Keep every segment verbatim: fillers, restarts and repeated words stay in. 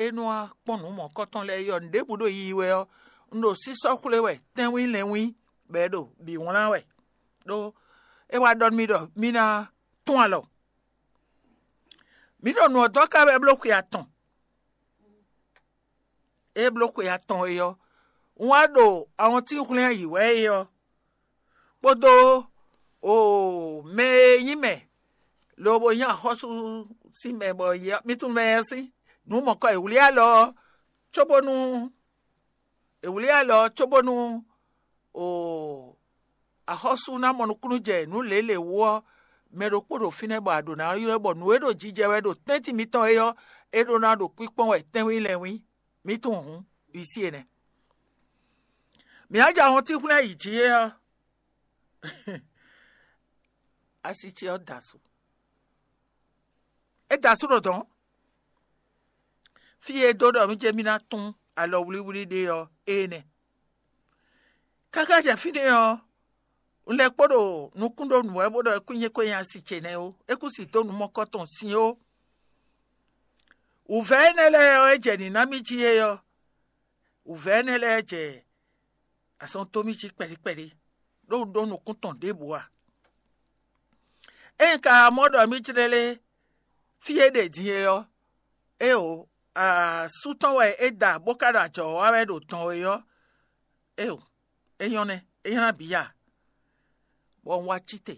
é nɔ wá kpɔ́n nǔ mɔ̌kɔtɔn lɛ́ɛ é ɔ́, nǔɖěbǔ ɖo yiyi wɛ ɔ́, un ɖo sísɔ́ xwlé wɛ tɛ́nwín lɛ́nwín, bɔ é ɖo bǐ wlán wɛ. Ɖó é wá ɖɔ nú mì ɖɔ mì ná tún alɔ. Mǐ ɖo nǔ ɔ́ dɔn ká wɛ bló xwe atɔn. É bló xwe atɔn é ɔ́, un wá ɖo awɔntín hwlɛ́n yǐ wɛ é ɔ́, kpódó o mɛ e nyí mɛ lobo nyí axɔ́sú sín mɛ bɔ mì tunwun mɛ ɔ́ sín nǔ mɔ̌kɔ è wlí alɔ ɔ́, cóbónú è wlí alɔ ɔ́ cóbónú o axɔ́sú ná mɔ nukúnnú jɛ nǔ lělě wú ɔ́, mɛ ɖokpó ɖo fínɛ́ bɔ a ɖǒ ná ylɔ́ bɔ nǔ e ɖo jijɛ wɛ ɖo tɛ́ntin mitɔn é ɔ́, é ɖó ná ɖo kpíkpɔ́n wɛ tɛ́nwín lɛ́nwín. Mì tunwun hǔn, wǐ sí énɛ́. Mǐ á jɛ ahɔntín hwlɛ́n yi jǐ é ɔ́, asi ce ɔ́ da asú. É da asú ɖo dɔ̌n. Fí e é dó ɖɔ mì jɛ mì ná tún alɔ wlíwlí ɖe ɔ́, é nɛ́. Káká jɛ fínɛ́ ɔ́, un lɛ́ kpo ɖo nukún ɖó nǔ wɛ bó ɖɔ é kú nyí kwényí asi ce nɛ́ ó; é kú si dó nǔ mɔkɔ́ tɔn sin ó. Wǔvɛ́ énɛ́ lɛ́ɛ ɔ́, é jɛ nǐ ná mì jí é ɔ́, wǔvɛ́ énɛ́ lɛ́ɛ jɛ azɔn dó mì jí kpɛɖí kpɛɖí, ɖó un ɖó nukún tɔn ɖěbǔ ǎ. Ényí ka mɔ ɖɔ mì jlɛ́ lé fí e ɖe din é ɔ́, éeǒ, asú tɔn wɛ é da bó ka ɖo ajɔ̌ wa wɛ ɖo dɔn é ɔ́, éeǒ, é nyɔ́ nɛ́, é nyɔ́ ná bǐ ya. Bɔ un wá cí te,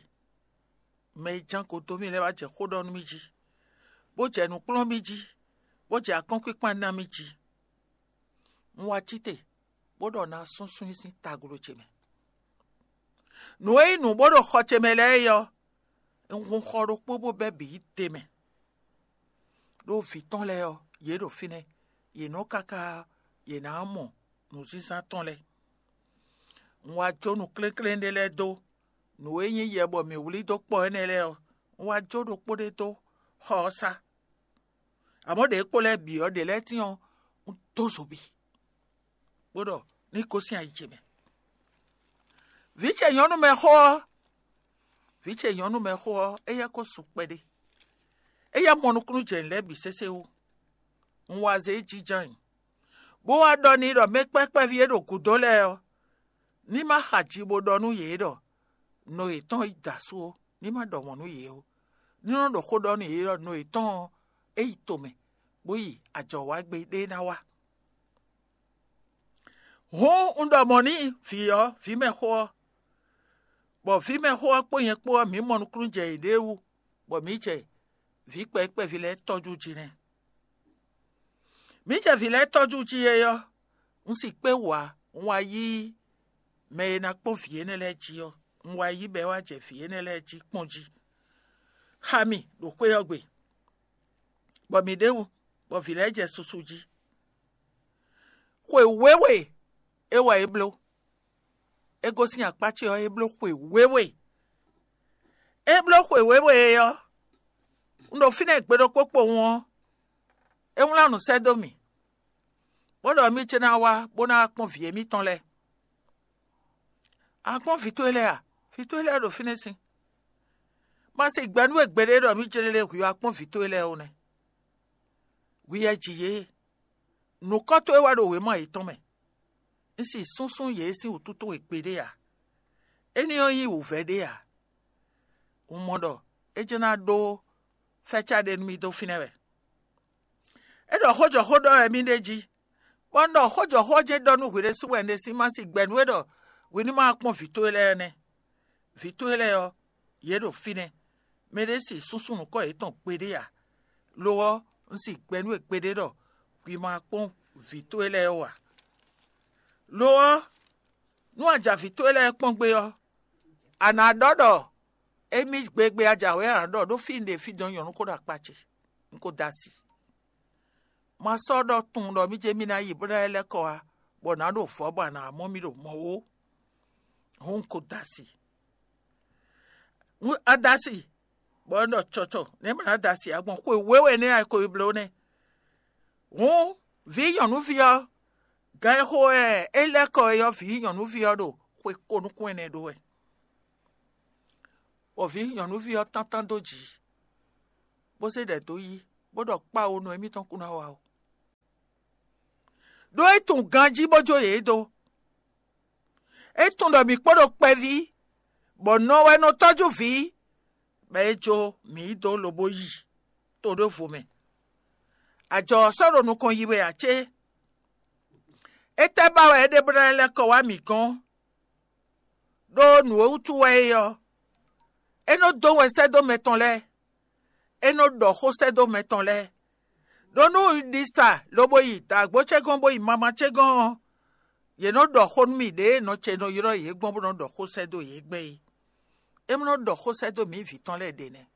mɛ e ján go dó mì lɛ́ɛ wá jɛ xó ɖɔ nú mì jí, bó jɛ nǔ kplɔ́n mì jí, bó jɛ akɔ́nkpinkpan ná mì jí. Un wá cí te, bó ɖɔ ná súnsún i sín taglo ce mɛ. Nǔ e nyí nǔ bó ɖo xɔ ce mɛ lɛ́ɛ é ɔ́, un hun xɔ ɖokpó bó bɛ́ bǐ yi te mɛ. Ɖó vǐ tɔn lɛ́ɛ ɔ́, yě ɖo fínɛ́; yě nɔ káká yě ná mɔ nǔzínzán tɔn lɛ́ɛ. Un wá jó nǔ kléklén ɖé lɛ́ɛ dó, nǔ e nyí yɛ bɔ mǐ wlí dó kpɔ énɛ́ lɛ́ɛ ɔ́, un wá jó ɖokpó ɖé dó xɔ ɔ́ sá. Amɔ̌, ɖě kpo lɛ́ɛ bǐ ɔ́, ɖě lɛ́ɛ tín ɔ́, un dó zobi, bó ɖɔ ní gosín ayi ce mɛ. Vǐ ce nyɔ̌nu mɛ xó ɔ́, vǐ ce nyɔ̌nu mɛ xó ɔ́, éyɛ́ ko su kpɛɖé; éyɛ́ mɔ nukúnnú jɛ nǔ lɛ́ɛ bǐ sésé wú. Un wá zé jínjɔ́n nyi, bó wá ɖɔ n'i ɖɔ mɛ kpɛ́kpɛ́ví e ɖo gǔdo lɛ́ɛ ɔ́, ní ma xa ji bó ɖɔ nú yě ɖɔ nɔ yětɔn yi da asú ó, ní ma ɖɔ mɔ̌ nú yě ó; ní nɔ ɖɔ xó ɖɔ nú yě ɖɔ nɔ yětɔn ɔ́, é yi tomɛ, bó yi ajɔ̌wágbe ɖé ná wá. Hǔn un ɖɔ mɔ̌ n'i vǐ ɔ́, vǐ mɛxó ɔ́, bɔ vǐ mɛxó ɔ́ kpó nyɛ kpó ɔ́, mǐ mɔ nukúnnú jɛ yěɖée wú, bɔ mǐ jɛ vǐ kpɛví kpɛví lɛ́ɛ tɔ́jú jí nɛ́. Mǐ jɛ vǐ lɛ́ɛ tɔ́jú jí é ɔ́, un si kpé wǔ ǎ; un wá yí mɛ e ná kpɔ́n vǐ énɛ́ lɛ́ɛ jí ɔ́, un wá yí bɔ é wá jɛ vǐ énɛ́ lɛ́ɛ jí kpɔ́n jí, xá mì ɖo xwé ɔ́ gbe, bɔ mǐ ɖ'é wú, bɔ vǐ lɛ́ɛ jɛ susu jí. Xwe wěwe é wɛ é bló; é gosín akpá ce ɔ́, é bló xwe wěwe. É bló xwe wěwe é ɔ́, un ɖo fínɛ́ gbe ɖokpó kpowun ɔ́, é wlán nǔ sɛ́ dó mì, bó ɖɔ mì ce ná wá bó ná wá kpɔ́n vǐ émítɔn lɛ́ɛ. A kpɔ́n vǐ towe lɛ́ɛ a? Vǐ towe lɛ́ɛ ɖo fínɛ́ sín. Ma se gbɛ̌ nú we gbeɖé ɖɔ mì jlé lé hwǐ wá kpɔ́n vǐ towe lɛ́ɛ ó nɛ́. Hwi wɛ ji yě; nǔkɔ́ towe wɛ ɖo wěma yětɔn mɛ. Un si súnsún yě sín wǔtu towe gbeɖé ǎ; énɛ́ ɔ́ nyí wǔvɛ́ ɖé ǎ. Un mɔ ɖɔ é jɛ́n ná ɖó fɛ́cá ɖé nú mì dó fínɛ́ wɛ. É ɖɔ xó jɔ xó ɖɔ wɛ mì ɖ'é jí, bɔ un ɖɔ xó jɔ xó ɔ́ jɛ́n ɖɔ nú hwi ɖésú wɛ un ɖe sín ma si gbɛ nú we ɖɔ hwi ní ma wá kpɔ́n vǐ towe lɛ́ɛ nɛ́. Vǐ towe lɛ́ɛ ɔ́, yě ɖo fínɛ́; mɛɖé si súnsún nǔkɔ yětɔn gbeɖé ǎ; lo ɔ́, un si gbɛ nú we gbeɖé ɖɔ hwi ma wá kpɔ́n vǐ towe lɛ́ɛ ó ǎ. Lo ɔ́, nú a jɛ avǐ towe lɛ́ɛ kpɔ́n gbé ɔ́, a nǎ ɖɔ ɖɔ émí gbegbe a jǎwe a nǎ ɖɔ ɖó fí un ɖe fí dɔn nyɔ̌nu ko ɖo akpá ce; un ko da asi. Ma sɔ́ ɖɔ tunwun ɖɔ mì jɛ mì ná yi bó ná lɛ́ kɔ wá, bɔ nǎ ɖo vɔ̌ bɔ a nǎ mɔ mì ɖo mɔ̌ ó; hǔn un ko da asi. A da asi, bɔ un ɖɔ cɔcɔ nɛ̌ ma ná da asi ǎ gbɔn xwe wěwe nɛ́ a ko yi bló nɛ́. Hǔn vǐ nyɔ̌nuví ɔ́, gan e xo wɛ é lɛ́ kɔ é ɔ́, vǐ nyɔ̌nuví ɔ́ ɖo xwe ko nukún ɛnɛ ɖó wɛ, bɔ vǐ nyɔ̌nuví ɔ́ tántán dó jǐ, bó zé ɖɛ dó yí, bó ɖɔ kpáwo nɔ émítɔn kún ná wa ó. ɖó é tunwun ganjí bó jó yě dó. É tunwun ɖɔ mǐ kpo ɖo kpɛví, bɔ nɔ wɛ nɔ tɔ́jú vǐ, bɔ é jó mǐ yi dó lobo yi to ɖěvo mɛ. Ajɔ ɔ́ sɔ́ ɖo nukɔn yi wɛ ǎ cé? Étɛ́ ba wɛ é ɖe bó ná lɛ́ kɔ wá mǐ gɔ́n? Ɖó nǔ e wútu wɛ é ɔ́, é nɔ dó wɛ sɛ́ dó mɛ tɔn lɛ́ɛ, é nɔ ɖɔ xó sɛ́ dó mɛ tɔn lɛ́ɛ. Ɖó nú un ɖi sa lobo yi dǎgbó ce gɔ́n bó yi mama ce gɔ́n ɔ́, yě nɔ ɖɔ xó nú mì ɖěe nɔ ce nɔ ylɔ́ yě gbɔn bó nɔ ɖɔ xó sɛ́ dó yě gbɛn é. É nɔ ɖɔ xó sɛ́ dó mǐ vǐ tɔn lɛ́ɛ ɖě nɛ́.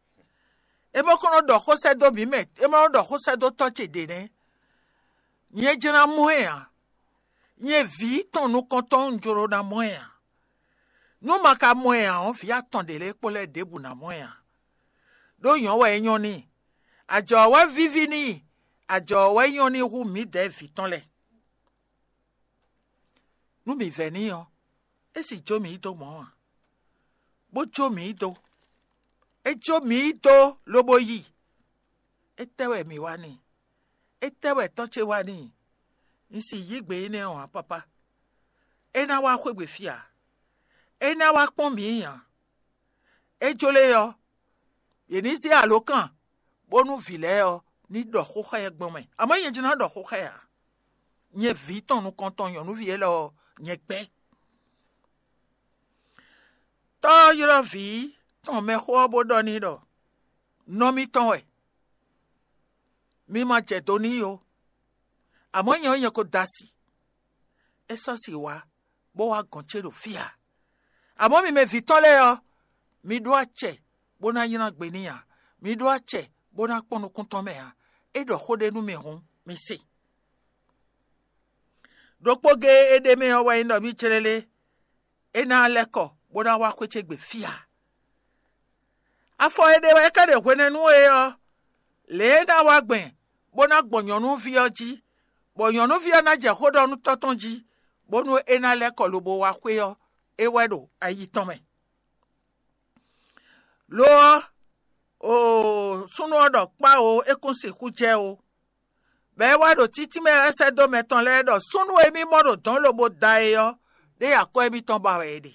É ma ko nɔ ɖɔ xó sɛ́ dó mǐ mɛ, é ma nɔ ɖɔ xó sɛ́ dó tɔ́ ce ɖě nɛ́. Nyɛ jló ná mɔ ɛ ǎ. Nyɛ vǐ tɔn nukɔntɔn un jló ná mɔ ɛ ǎ. Nú ma ka mɔ ɛ ǎ ɔ́, vǐ atɔn ɖě lɛ́ɛ kpó lɛ́ɛ ɖěbǔ ná mɔ ɛ ǎ. Ɖó nyɔ̌ wɛ é nyɔ́ n'i. Ajɔ ɔ́ wɛ víví n'i, ajɔ ɔ́ wɛ nyɔ́ n'i hú mǐdɛɛ vǐ tɔn lɛ́ɛ. Nú mǐ vɛ́ n'i ɔ́, é sì jó mǐ yi dó mɔ̌ ǎ, bó jó mǐ yi dó. É jó mǐ yi dó lobo yi. Étɛ́ wɛ mǐ wa n'i? Étɛ́ wɛ tɔ́ ce wa n'i? Un sì yí gbe énɛ́ ɔ́ ǎ, papá. É ná wá xwé gbe fí ǎ. É ná wá kpɔ́n mǐ ǎ. É jló é ɔ́, yě ní zé alǒkan bónú vǐ lɛ́ɛ ɔ́ ní ɖɔ xó xá ɛ gbɔn mɛ. Amɔ̌ nyɛ jló ná ɖɔ xó xá ɛ ǎ. Nyɛ vǐ tɔn nukɔntɔn nyɔ̌nuví élɔ́ ɔ́, nyɛ gbɛ́. Tɔ́ ɔ́ ylɔ́ vǐ tɔn mɛxó ɔ́ bó ɖɔ n'i ɖɔ: Nɔ mitɔn wɛ, mi ma jɛ do n'i ó. Amɔ̌ nyɛ ɔ́, nyɛ ko da si. É sɔ́ si wá, bó wá gɔ̌n ce ɖo fí ǎ. Amɔ̌ mi mɛ vǐ tɔn lɛ́ɛ ɔ́, mi ɖó acɛ bó ná nylá gbe n'i ǎ; mi ɖó acɛ bó ná kpɔ́n nukún tɔn mɛ ǎ. É ɖɔ xó ɖé nú mi hǔn, mi se. Ɖokpó géé é ɖ'é mɛ ɔ́ wɛ nyí ɖɔ mì célélé, é ná lɛ́ kɔ bó ná wá xwé ce gbe fí ǎ. Afɔ e ɖe wɛ é ka ɖe hwenɛ́nu é ɔ́, lě e é ná wá gbɛn bó ná gbɔn nyɔ̌nuví ɔ́ jí, bɔ nyɔ̌nuví ɔ́ ná jɛ xó ɖɔ nú tɔ́ tɔn jí, bónú é ná lɛ́ kɔ lobo wá xwé ɔ́, é wɛ ɖo ayi tɔn mɛ. Lo ɔ́, oo, súnnu ɔ́ ɖɔ kpá oo, é kún sixú jɛ ó. Bɔ é wá ɖo títí mɛ wɛ sɛ́ dó mɛ tɔn lɛ́ɛ ɖɔ súnnu e mì mɔ ɖo dɔ̌n lobo da é ɔ́, ɖé akwɛ́ émítɔn ba wɛ è ɖe.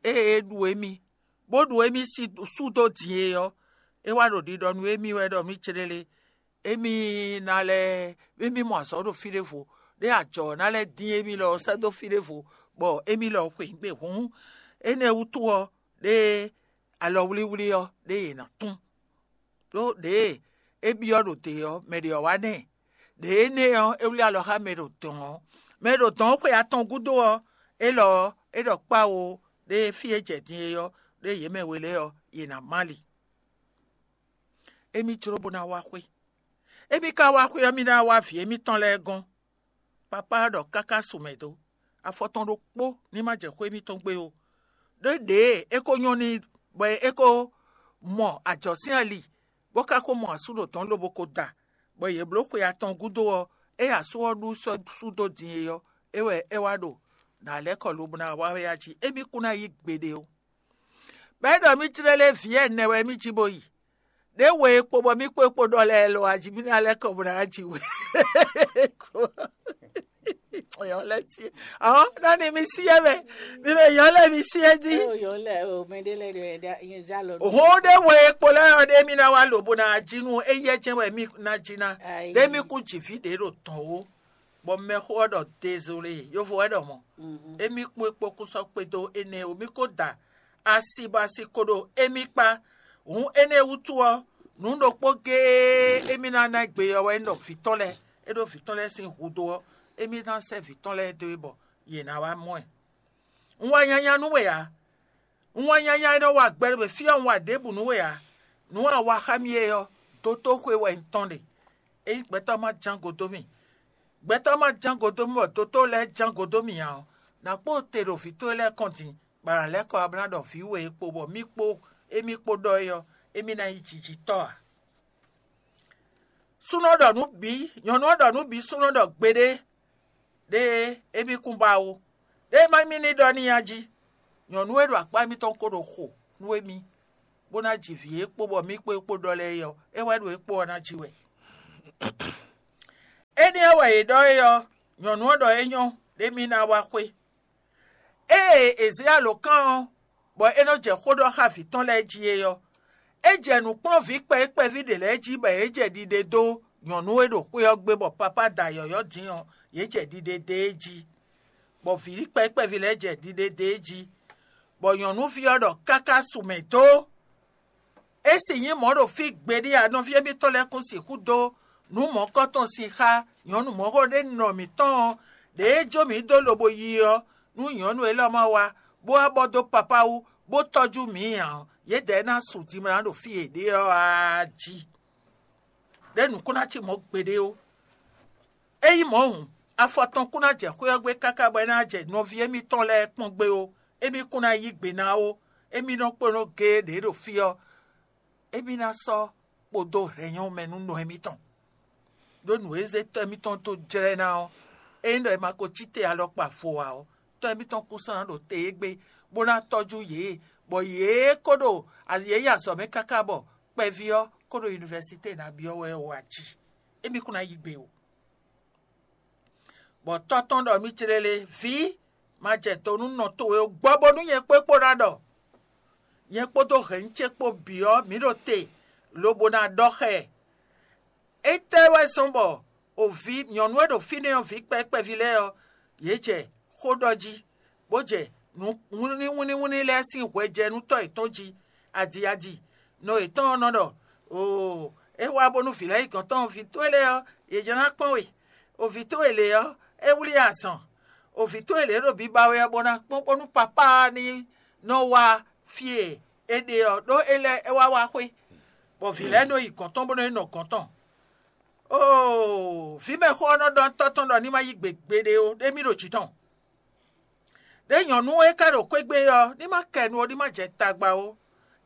Ée é ɖu émí, bó ɖu émí sú dó din é ɔ́, é wá ɖo ɖiɖɔ nú émí wɛ ɖɔ mì céɖélé, émí ná lɛ́ émí mɔ azɔ̌ ɖo fí ɖěvo, ɖé ajɔ ɔ́ ná lɛ́ dín émí lɔ sɛ́ dó fí ɖěvo, bɔ émí lɔ xwe nǔ gbe. Hǔn énɛ́ wútu ɔ́, ɖé alɔwlíwlí ɔ́, ɖé yě ná tún. Ɖó ɖěe é byɔ́ ɖo dě ɔ́, mɛ ɖě ɔ́ wá nɛ́. Đě énɛ́ ɔ́, é wlí alɔ xá mɛ ɖo dɔ̌n ɔ́. Mɛ ɖo dɔ̌n ɔ́ xwe atɔn gúdo ɔ́, élɔ́ ɔ́, é ɖɔ kpáwo ɖé fí e jɛ din é ɔ́, ɖé yě mɛ we lɛ́ɛ ɔ́, yě ná má li. Émí jló bó ná wá xwé. Émí ka wá xwé ɔ́, mì ná wá vǐ émítɔn lɛ́ɛ gɔ́n. Papá ɔ́ ɖɔ káká su mɛ dó. Afɔ tɔn ɖokpó ní má jɛ xwé émítɔn gbé ó. Ɖó ɖěe é ko nyɔ́ n'i bɔ é ko mɔ ajɔ̌ sín ali, bó ka ko mɔ asú ɖo dɔ̌n lobo ko da, bɔ yě bló xwe atɔn gúdo ɔ́, ée asú ɔ́ ɖu sɔ́ sú dó din é ɔ́, é wɛ é wá ɖo nǎ lɛ́ kɔ lobo ná wá wɛ a jí. Émí kún ná yí gbeɖé ó. Bɔ é ɖɔ mì jlɛ́ lé vǐ ɛnɛ wɛ mì jí bó yi. Ɖě we e kpo bɔ mì kpo e kpo ɖɔ lɛ́ɛ lo aji mì ná lɛ́ kɔ bó ná ji we. Yɔ lɛ́ sie. Ɔ́, nɔ ni mi sie mɛ. Mi mɛ yɔ lɛ́ mi sie jí. Ó yɔ lɛ o, mɛ ɖé lɛ ɖe da yín zá lɔ. Hɔn ɖé we e kpo lɛ́ɛ ɔ́ ɖé mì ná wá lo bó ná ji nú éyɛ́ jɛ́n wɛ mì ná ji ná. Ayi. Ɖé mì kú jǐ fí ɖě ɖo tɔn ó. Bɔ mɛxó ɔ́ ɖɔ dézolé, yovo wɛ ɖɔ mɔ̌. Mhm. Émí kpó é kpó kún sɔ́ kpédó énɛ́ ó, mì ko da asi bɔ asi ko ɖo émí kpá. Hǔn énɛ́ wútu ɔ́, nǔ ɖokpó géé émí ná ná gbe ɔ́ wɛ nyí ɖɔ vǐ tɔn lɛ́ɛ, é ɖó vǐ tɔn lɛ́ɛ sín hudó ɔ́, émí ná sɛ́ vǐ tɔn lɛ́ɛ dó e bɔ yě ná wá mɔ ɛ. Un wá nyanya nú we ǎ. Un wá nyanya e nɔ wa gbɛ ɖo fí ɔ́, un wa ɖěbǔ nú we ǎ. Nǔ e a wa xá mì é ɔ́, dotóxwé wɛ un tɔn ɖe. Ényí gbɛtɔ́ ma ján go dó mì, gbɛtɔ́ ma ján go dó mì bɔ dotó lɛ́ɛ ján go dó mì ǎ ɔ́, nǎ kpó te ɖo vǐ towe lɛ́ɛ kɔn din, bɔ a nǎ lɛ́ kɔ wá bó ná ɖɔ vǐ we e kpo bɔ mì kpó émí kpó ɖɔ é ɔ́, émí ná nyí jijitɔ́ ǎ. Súnnu ɔ́ ɖɔ nǔ bǐ, nyɔ̌nu ɔ́ ɖɔ nǔ bǐ súnnu ɔ́ ɖɔ gbeɖé, ɖé émí kún ba ó. Ɖé má mì ní ɖɔ n'i a jí. Nyɔ̌nu e ɖo akpá émítɔn ko ɖo xo nú émí, bó ná ji vǐ e kpo bɔ mì kpó é kpo ɖɔ lɛ́ɛ é ɔ́, é wɛ ɖo é kpo ɔ́ ná jí wɛ. Énɛ́ ɔ́ wɛ Yě ɖɔ é ɔ́, nyɔ̌nu ɔ́ ɖɔ é nyɔ́ ɖé mì ná wá xwé. Ée è zě alǒkan ɔ́, bɔ é nɔ jɛ xó ɖɔ xá vǐ tɔn lɛ́ɛ jí é ɔ́, é jɛ nǔ kplɔ́n vǐ kpɛví kpɛví ɖě lɛ́ɛ jí bɔ yě jɛ ɖiɖe dó nyɔ̌nu e ɖo xwé ɔ́ gbe bɔ papá da yɔ̌yɔ́ din ɔ́, yě jɛ ɖiɖe dó é jí, bɔ vǐ kpɛví kpɛví lɛ́ɛ jɛ ɖiɖe dó é jí, bɔ nyɔ̌nuví ɔ́ ɖɔ káká su mɛ dó. É si nyí mɔ̌ ɖo fí gbeɖé ǎ, nɔví émítɔn lɛ́ɛ kún sixú dó nǔ mɔ̌kɔ́tɔn sin xá nyɔ̌nu mɔ̌xo ɖé nɔ mǐtɔn ɔ́, ɖěe jó mǐ dó lobo yi ɔ́, nú nyɔ̌nu élɔ́ ma wá, bó wá bɔ dó papá wú, bó tɔ́jú mǐ ǎ ɔ́, yědɛɛ ná su dimlá ɖo fí e ɖe ɔ́ ǎ jí. Ɖé nǔ kún ná cí mɔ̌ gbeɖé ó. Ényí mɔ̌ hǔn, afɔ tɔn kún ná jɛ xwé ɔ́ gbe káká bɔ é ná jɛ nɔví émítɔn lɛ́ɛ kpɔ́n gbé ó. Émí kún ná yí gbe ná ó. Émí nɔ kplɔ́n géé ɖě ɖo fí ɔ́, émí ná sɔ́ kpodó hɛ̌nyɔ́ mɛ nú nɔ émítɔn. Ɖó nǔ e zé tɔ́ émítɔn dó jlɛ́ ná ɔ́, ényí ɖɔ è ma ko cí te alɔkpa vo ǎ ɔ́, tɔ́ émítɔn kún sɔ́ ná ɖo te égbé, bó ná tɔ́jú yě, bɔ yě kó ɖo yě yi azɔ̌ mɛ káká bɔ kpɛví ɔ́ kó ɖo univɛsité ná byɔ́ wɛ ó a jí. Émí kún ná yí gbe ó. Bɔ tɔ́ tɔn ɖɔ mì clélé, vǐ, ma jɛ do nú nɔ towe ó, gbɔ bónú nyɛ kpó kpó ná ɖɔ. Nyɛ kpódó hɛ̌nnu ce kpó bǐ ɔ́, mǐ ɖo te, lobo ná ɖɔ xá ɛ. Étɛ́ wɛ zɔ́n bɔ o vǐ nyɔ̌nu e ɖo fínɛ́ ɔ́ vǐ kpɛví kpɛví lɛ́ɛ ɔ́, yě jɛ xó ɖɔ jí, bó jɛ nǔ wínníwínní lɛ́ɛ sín hwɛ jɛ nú tɔ́ yětɔn jí, adi adi. Nɔ yětɔn ɔ́ nɔ ɖɔ: Oo, é wá bónú vǐ lɛ́ɛ yi gɔ̌n tɔn vǐ towe lɛ́ɛ ɔ́, yě jɛ ná kpɔ́n we. O vǐ towe lě ɔ́, é wlí azɔn. O vǐ towe lě ɖo biba wɛ ɔ́, bó ná kpɔ́n bónú papá ɔ́ ní nɔ wá fí e é ɖe ɔ́, ɖó é lɛ́ é wá wá xwé, bɔ vǐ lɛ́ɛ nɔ yi gɔ̌n tɔn bó nɔ yi nɔ gɔ̌n tɔn. Oo, vǐmɛxó ɔ́ nɔ ɖɔ tɔ́ tɔn ɖɔ ní ma yí gbe gbeɖé ó, ɖé mì ɖo jǐ tɔn. Ɖé nyɔ̌nu e ka ɖo xwé gbe ɔ́, ní ma kɛ nu ó, ní ma jɛ tagba ó.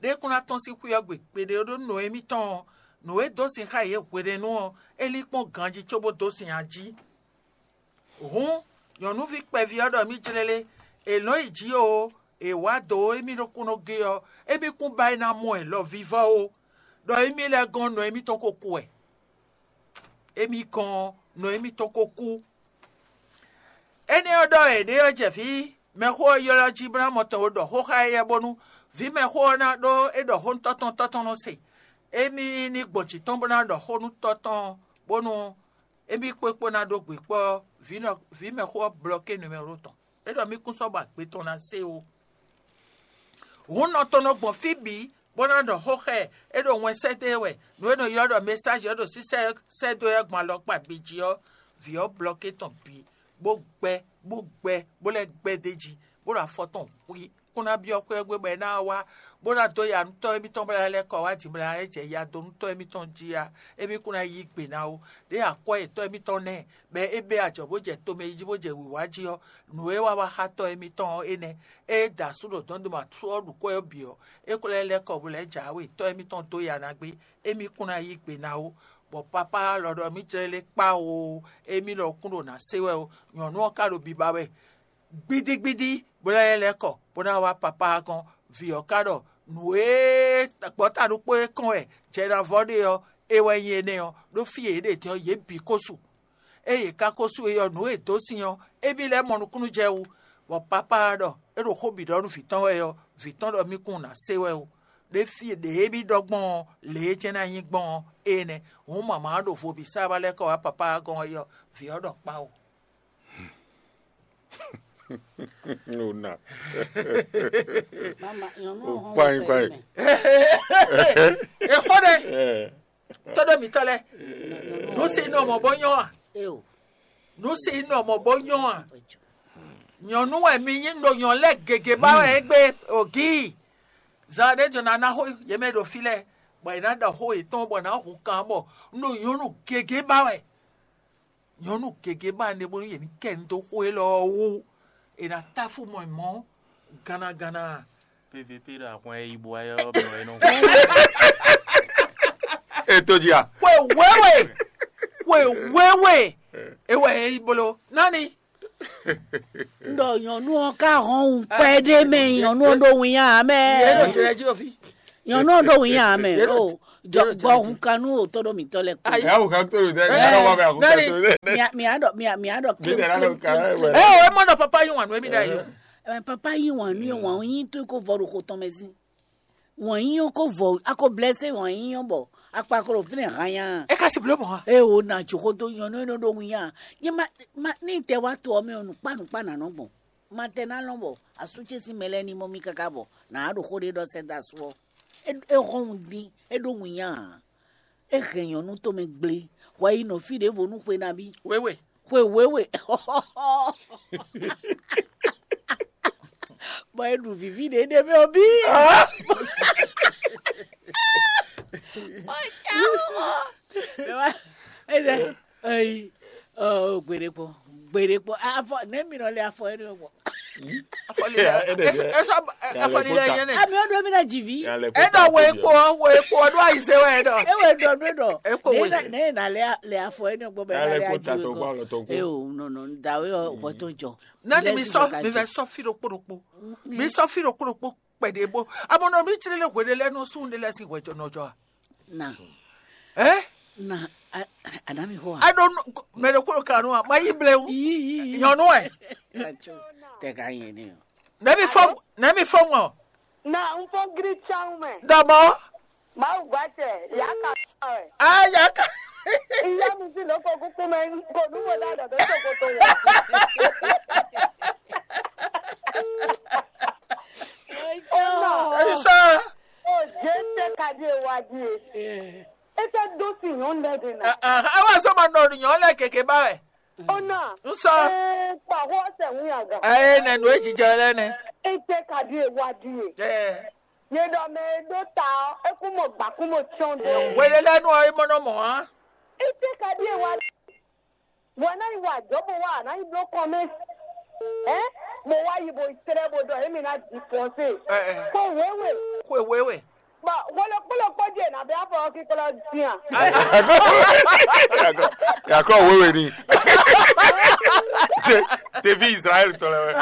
Ɖé kún ná tɔ́n sín xwé ɔ́ gbe gbeɖé ó, ɖó nɔ émítɔn ɔ́, nǔ e dó sin xá yě hwenɛ́nu ɔ́, é lín kpɔ́n ganjí cóbó dó sin ají. Hǔn, nyɔ̌nuví kpɛví ɔ́ ɖɔ mì jlélé, è lɔ̌n yi jǐ o, è wǎ dǒ émí ɖokúnɔ gé ɔ́, émí kún ba é ná mɔ ɛ lɔ vívɔ́ ó, ɖɔ émí lɛ́ɛ gɔ́n nɔ émítɔn ko kú wɛ. Émí gɔ́n ɔ́, nɔ émítɔn ko kú. Énɛ́ ɔ́ ɖɔ è ɖě ɔ́ jɛ vǐ mɛxó ɔ́ ylɔ́ jí bó ná mɔ tɔn e ɖɔ xó xá éyɛ́ bónú vǐ mɛxó ɔ́ ná ɖó é ɖɔ xó nú tɔ́ tɔn, tɔ́ tɔn nɔ se. Émí ní gbɔn jǐ tɔn bó ná ɖɔ xó nú tɔ́ tɔn bónú émí kpó kpó ná ɖó gbe kpɔ́ vǐ mɛxó ɔ́ blɔké numɛ́ro tɔn. É ɖɔ mì kún sɔ́ ba gbe tɔn ná se ó. Hǔn nɔ tɔn nɔ gbɔn fí bǐ bó ná ɖɔ xó xá ɛ, é ɖo wɛn sɛ́ dó e wɛ, nǔ e nɔ ylɔ́ ɖɔ mesáji ɔ́ ɖo sísɛ́ sɛ́ dó ɛ gbɔn alɔkpa bǐ jí ɔ́, vǐ ɔ́ blɔké tɔn bǐ, bó gbɛ, bó gbɛ, bó lɛ́ gbɛ d'é jí, bó ɖo afɔ tɔn hwí, kún ná byɔ́ xwé ɔ́ gbe bɔ é ná wá, bó ná dó ya nú tɔ́ émítɔn bó ná lɛ́ kɔ wá din bó ná lɛ́ jɛ ya dó nú tɔ́ émítɔn jí a? Émí kún ná yí gbe ná ó. Ɖěe akwɛ́ yětɔn émítɔn nɛ́, bɔ é bɛ́ ajɔ̌ bó jɛ tomɛ yi jí bó jɛ wǐwá jí ɔ́, nǔ e wá wá xá tɔ́ émítɔn ɔ́ énɛ́. Ée da asú ɖo dɔ̌n ɖo ma sú ɔ́ ɖu kwɛ́ ɔ́ bǐ ɔ́, é ko lɛ́ lɛ́ kɔ bó lɛ́ jǎwe tɔ́ émítɔn dó ya ná gbé, émí kún ná yí gbe ná ó, bɔ papá lɔ ɖɔ mì jlɛ́ lé kpá oo, émí lɔ kún ɖo nǎ se wɛ ó, nyɔ̌nu ɔ́ ka ɖo biba wɛ gbídígbídí, bó ná lɛ́ lɛ́ kɔ bó ná wá papá ɔ́ gɔ́n. Vǐ ɔ́ ka ɖɔ nǔ e gbɔ̌ta ɖokpó e kɔn wɛ jɛ ná vɔ ɖe ɔ́, é wɛ nyí énɛ́ ɔ́, ɖó fí e yě ɖe din ɔ́, yě bǐ ko su. Ée yě ka ko su é ɔ́, nǔ e è dǒ sin ɔ́, émí lɛ́ mɔ nukúnnú jɛ wú, bɔ papá ɔ́ ɖɔ é ɖo xó bǐ ɖɔ nú vǐ tɔn wɛ ɔ́, vǐ tɔn ɖɔ mì kún ná se wɛ ó. Ɖé fí ɖě émí ɖɔ gbɔn ɔ́, lě e jɛ́n ná nyí gbɔn ɔ́, énɛ́. Hǔn mama ɔ́ ɖo vo bǐ sá wá lɛ́ kɔ wá papá ɔ́ gɔ́n ɔ́, vǐ ɔ́ ɖɔ kpá o. Una. Mama, nyɔnu O ɔhɔn kpayi, wɔ kpayi. pɛlɛ mɛ. Exɔ ɖe Eh, tɔɖɔ mitɔ lɛ, nu si nɔ mɔ bɔ nyɔ a? Eo. Nu si nɔ mɔ bɔ nyɔ a? Nyɔnu wɛ mi nyi ɖo nyɔ lɛ gege ba wɛ egbe ogi. Zan ɖe jɔ na na xo ye mɛ ɖo fi lɛ, bɔ e na ɖɔ xo yetɔn bɔ na hu kan bɔ n ɖo nyɔnu gege ba wɛ. Nyɔnu gege ba ne bónú yě ní kɛ nu dó xó élɔ́ ɔ́ wú. È nǎ táfú mɔ mɔ̌ gannaganna. P V P ɖo ahwan e yi bo wá ɔ́ mɔ ɛ nɔ. Eto dia. Xwe wéwe, xwe wéwe, ewɛ yɛ yi bolo nani. N ɖɔ nyɔnu ɔ́ ka hɔn wun pɛ ɖé mɛ, nyɔnu ɔ́ ɖo wun ya mɛ. Yɛ ɖo jlɛ jí ofi. Nyɔnu ɔ́ ɖo wǐnya mɛ o. Jɔ gbɔ hun kan nú òtó ɖo mǐtɔn lɛ kú. Ayi. Ɛ wò kan tó lò dɛ, ɛ, ɛ wò bɛ àkókò nɛni? Tó lè. Mia mia ɖɔ mia mia ɖɔ Bí tɛ̀lé ló ka ɛ wɛ. Ɛ o, ɛ mɔ ɖɔ papa yín wǎn nú émí ɖ'ayǐ o. Ɛ, papa yín wǎn nú yín wǎn yín tó kó vɔ ɖo xo tɔn mɛ zín. Wǎn yín ɔ́ kó vɔ, a ko blɛ́sɛ wǎn yín ɔ́ bɔ akpa ko ɖo fínɛ́ hanya. É ka si bló mɔ̌ a? Eye wò na jǒ xó dó nyɔ̌nu e nɔ ɖo wǐnya. Nyɛ ma ma ní tɛ wá to ɔ́ mɛ ɔ́, nǔkpá nǔkpá nǎ nɔ gbɔn. Ma tɛ ná lɔn bɔ asú ce sín mɛ lɛ́ɛ ní mɔ mì káká bɔ nǎ ɖo xó ɖé ɖɔ sɛ́ dó asú ɔ́. É é hɔn wun dín, é ɖó wǐnya ǎ. É hɛn nyɔ̌nu tɔn mɛ gblé, wɛ yi nɔ fí ɖěvo nú xwe nabí. Wěwe. Xwe wěwe. Bɔ é ɖu vǐví ɖě ɖé mɛ ɔ́ bí. Ɛyi, gbeɖe kpɔ, gbeɖe kpɔ. Afɔ nɛ mi nɔ lé afɔ ɛnɛ gbɔ. Afɔ lila. Esɔ afɔ lila yɛn nɛ. Ami ɔdɔ mi na dzi vi. Enɔ wo ekpo wo ekpo ɔdɔ ayize wɛ enɔ. Ewe dɔ do dɔ. Ekpo wo. Ne na lé lé afɔ ɛnɛ gbɔ bɛ na lé adzi we gbɔ. Ewo nɔnɔ dawe ɔ wɔ to jɔ. Nani mi sɔ mi vɛ sɔ fi ɖokpo ɖokpo. Mi sɔ fi ɖokpo ɖokpo kpɛɖe bo. Amɔnɔ mi tsiri le hwe ɖe lɛ nɔ sun ɖe lɛ si hwɛ jɔ nɔ jɔ a. Na. Ɛ? Na anami xɔ a. I don't know. Mɛ ɖe kúrò kanu a ma yi blewu. Nyɔnu ɛ. Tɛ ka yẹn ni o. Nɛbi fɔ nɛbi fɔ ŋɔ. Na n fɔ giri tsan mɛ. Dɔbɔ. Mawu gba tɛ ya ka sɔ ɛ. A ya ka. Iya mi ti loko kuku mɛ ko nu mo da dɔ bɛ sokoto ya. Ɛsɛ. O Jésù ka di ewa di e. E tɛ do si nyɔnu lɛ de na. Awa sɔ ma nɔ nyɔnu lɛ keke ba wɛ. Ona. N sɔ. Ee kpa hɔ sɛ ŋu yaga. Ee nɛ nu ejijɔ lɛ nɛ. E tɛ ka di ewa di e. Ɛɛ. Ye dɔ mɛ e do ta ɔ, e kun mɔ gba kun mɔ tiɔn do. Wele lɛ nu ɔ, e mɔ nɔ mɔ a. E tɛ ka di ewa di. Bɔ a nǎ yi wa ajɔ̌ bó wá, a nǎ yi bló kɔn mɛ. Ɛ? Bó wá yi bó yi tlɛ́ bó ɖɔ émí ná ji fɔ́nsé. Ɛ, ɛ. Xó wěwe. Xó wěwe. Bɔ hwelɔkpɔ́lɔkpɔ́ jɛ nǎ bɛ afɔ kíkɔlɔ dín a? Yakɔ wéwe ni. Ɖevi Israɛl tɔ lɛ wɛ.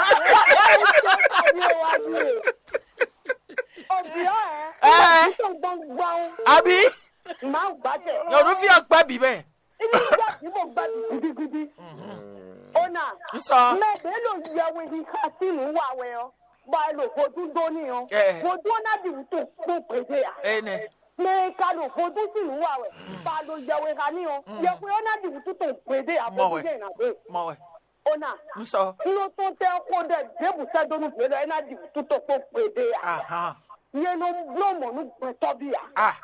Òbí ɔ ɛ. Ɛ. Òbí tó gbɔngbɔn. Àbí? Màá gbà tẹ̀. Nyɔnuvi ɔkpɛ bǐ mɛ. Inú gbà bí mo gbà bí gidigidi. Ona. Nsɔ. Mɛ bɛ lo yɛwe ni xa sínú wa wɛ ɔ. Ba lo vodún dó ní ɔ. Ɛ. Vodún ɔ́ ná di wútu kpó gbèdé a. Ɛnɛ. Mɛ ka lo vodún sínú wa wɛ. Ba lo yɛwe xa ní ɔ. Yɛwe ɔ́ ná di wútu tó gbèdé a. Mɔ wɛ. Vodún jẹ́ ìnàgbé. Mɔ wɛ. Ona. Nsɔ. Nɔ tɔn tɛ xo ɖe ɖěbù sɛ́ dó nú vǐ lɔ é ná di wútu tó kpó gbèdé a. Ahan. Yɛ nɔ bló mɔ nú gbɛtɔ́ bí a. Ah.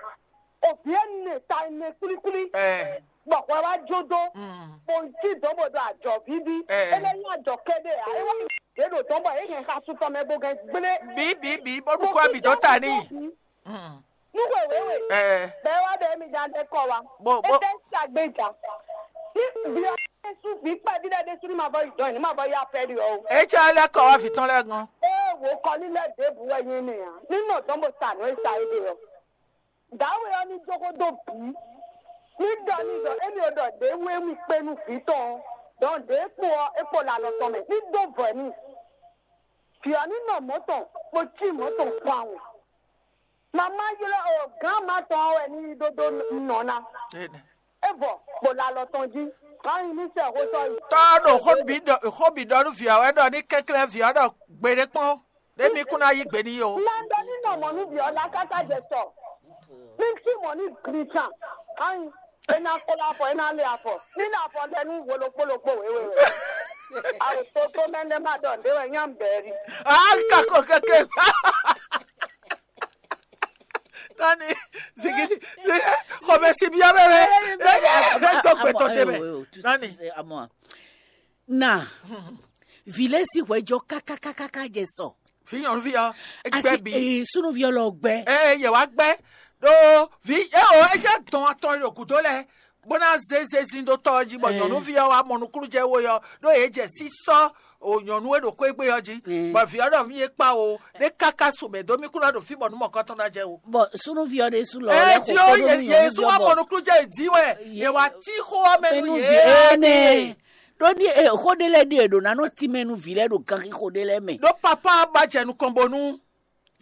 Òbí ẹ̀ nè ta ẹ̀ nè kúlíkúlí. Ɛ. Bɔ hwɛ wá jó dó. Mm. Kò jí dɔ̌nbɔdɔ àjɔ bíbí. Ɛ. É lɛ́ nyí àjɔ kéde ǎ. É wá yě ɖo dɔ̌n bɔ é hɛn xasun tɔn mɛ bó gɛn gblé. Bí bí bí bó ɖu kó abǐ dɔ́ ta n'i. Mm. Nú wěwéwé. Ɛ. Bɛɛ wá bɛɛ mi dán dé kɔ wa. Bó bó. É tẹ́ ṣàgbéjà. Ní bí a ṣe sún bí pẹ́ bí lẹ́dí sún ní ma bọ́ ìjọ ní ma bọ́ yá pẹ́ rí ọ. É tsɛ lɛ kɔ wá vǐ tɔn lɛ gan. É wò kɔ lílẹ̀ débù wɛ nyí ni à. Nínú ọ̀dọ́ mo sànú é sa é dé ọ. Dǎwe ɔ́ ní dó xó dó bǐ. Ní ɖɔ ní ɖɔ émí ɔ́ ɖɔ ɖě wú émí kpé nú vǐ tɔn ɔ́, dɔn ɖě kpo ɔ́, é kpo lɛ alɔ tɔn mɛ. Ní dó vɔ̌ n'i. Vǐ ɔ́ ní nɔ mɔ̌ tɔn, bó cí mɔ̌ tɔn kpawun. Mamá ylɔ́ ɔ gǎn ma tɔn ɔ́ wɛ ní yi ɖó dó nɔ ná. É vɔ, bó lɛ alɔ tɔn jí. Hǎn yi ní sɛ xó sɔ́ yi. Tɔ́ ɖo xó bǐ ɖɔ xó bǐ ɖɔ nú vǐ ɔ́ wɛ ɖɔ ní kɛnklɛ́n vǐ ɔ́ ɖɔ gbeɖé kpɔ́n. Ɖé mi kún ná yí gbe n'i ó. Nando ní nɔ mɔ̌ nú vǐ ɔ́ lá káká jɛ sɔ. Ní sí mɔ̌ ní gli can. Ayi, é ná kplɔ́ afɔ, é ná lé afɔ. Ní ná afɔ lɛ nú wo ɖokpó ɖokpó wěwé wɛ. Awo toto mɛ ɖé má ɖɔ nǔɖé wɛ nyá bɛɛ rí. A ka ko keke. Nani zigidi xɔmɛ si bi ɔbɛ wɛ. Lɛ yɛ lɛ tɔ gbɛtɔ tɛ mɛ. Nani. Na vǐ lɛ́ɛ sín hwɛjɔ kákákákáká jɛ sɔ. Fi nyɔnuvi ɔ́, gbɛ bi. Ee, súnúvi ɔ́ lɔ gbɛ. Ee, yɛ wá gbɛ. Ɖó vi eo é jɛ dɔn atɔn ɖo gǔdo lɛ bó ná zé zezin ɖó tɔ ɔ́ jí bɔ nyɔnuvi ɔ́ wá mɔ nukúnnú jɛ wo yɔ ɖó yě jɛ sísɔ o nyɔnu e ɖo kó égbé ɔ́ jí bɔ vi ɔ́ ɖɔ mí é kpa o ɖé káká su mɛ dó mí kún ná ɖo fí bɔ nú mɔkɔtɔn ná jɛ o. Bɔ súnúvi ɔ́ ɖésú lɔ ɛ lɛ tí ó xo kpó nú yě nyɔnuvi sú wá ɔ́ mɔ bɔ nukúnnú jɛ dí wɛ yě wá tí xó ɔ́ mɛ nú mɛnúvi yě énɛ́. Ɖó ní e xó ɖé lɛ́ɛ ɖi e ɖo ná nɔ tínmɛ nú vǐ lɛ́ɛ ɖo ganxixo ɖé lɛ́ɛ mɛ. Ɖó papá ba jɛ nukɔn bónú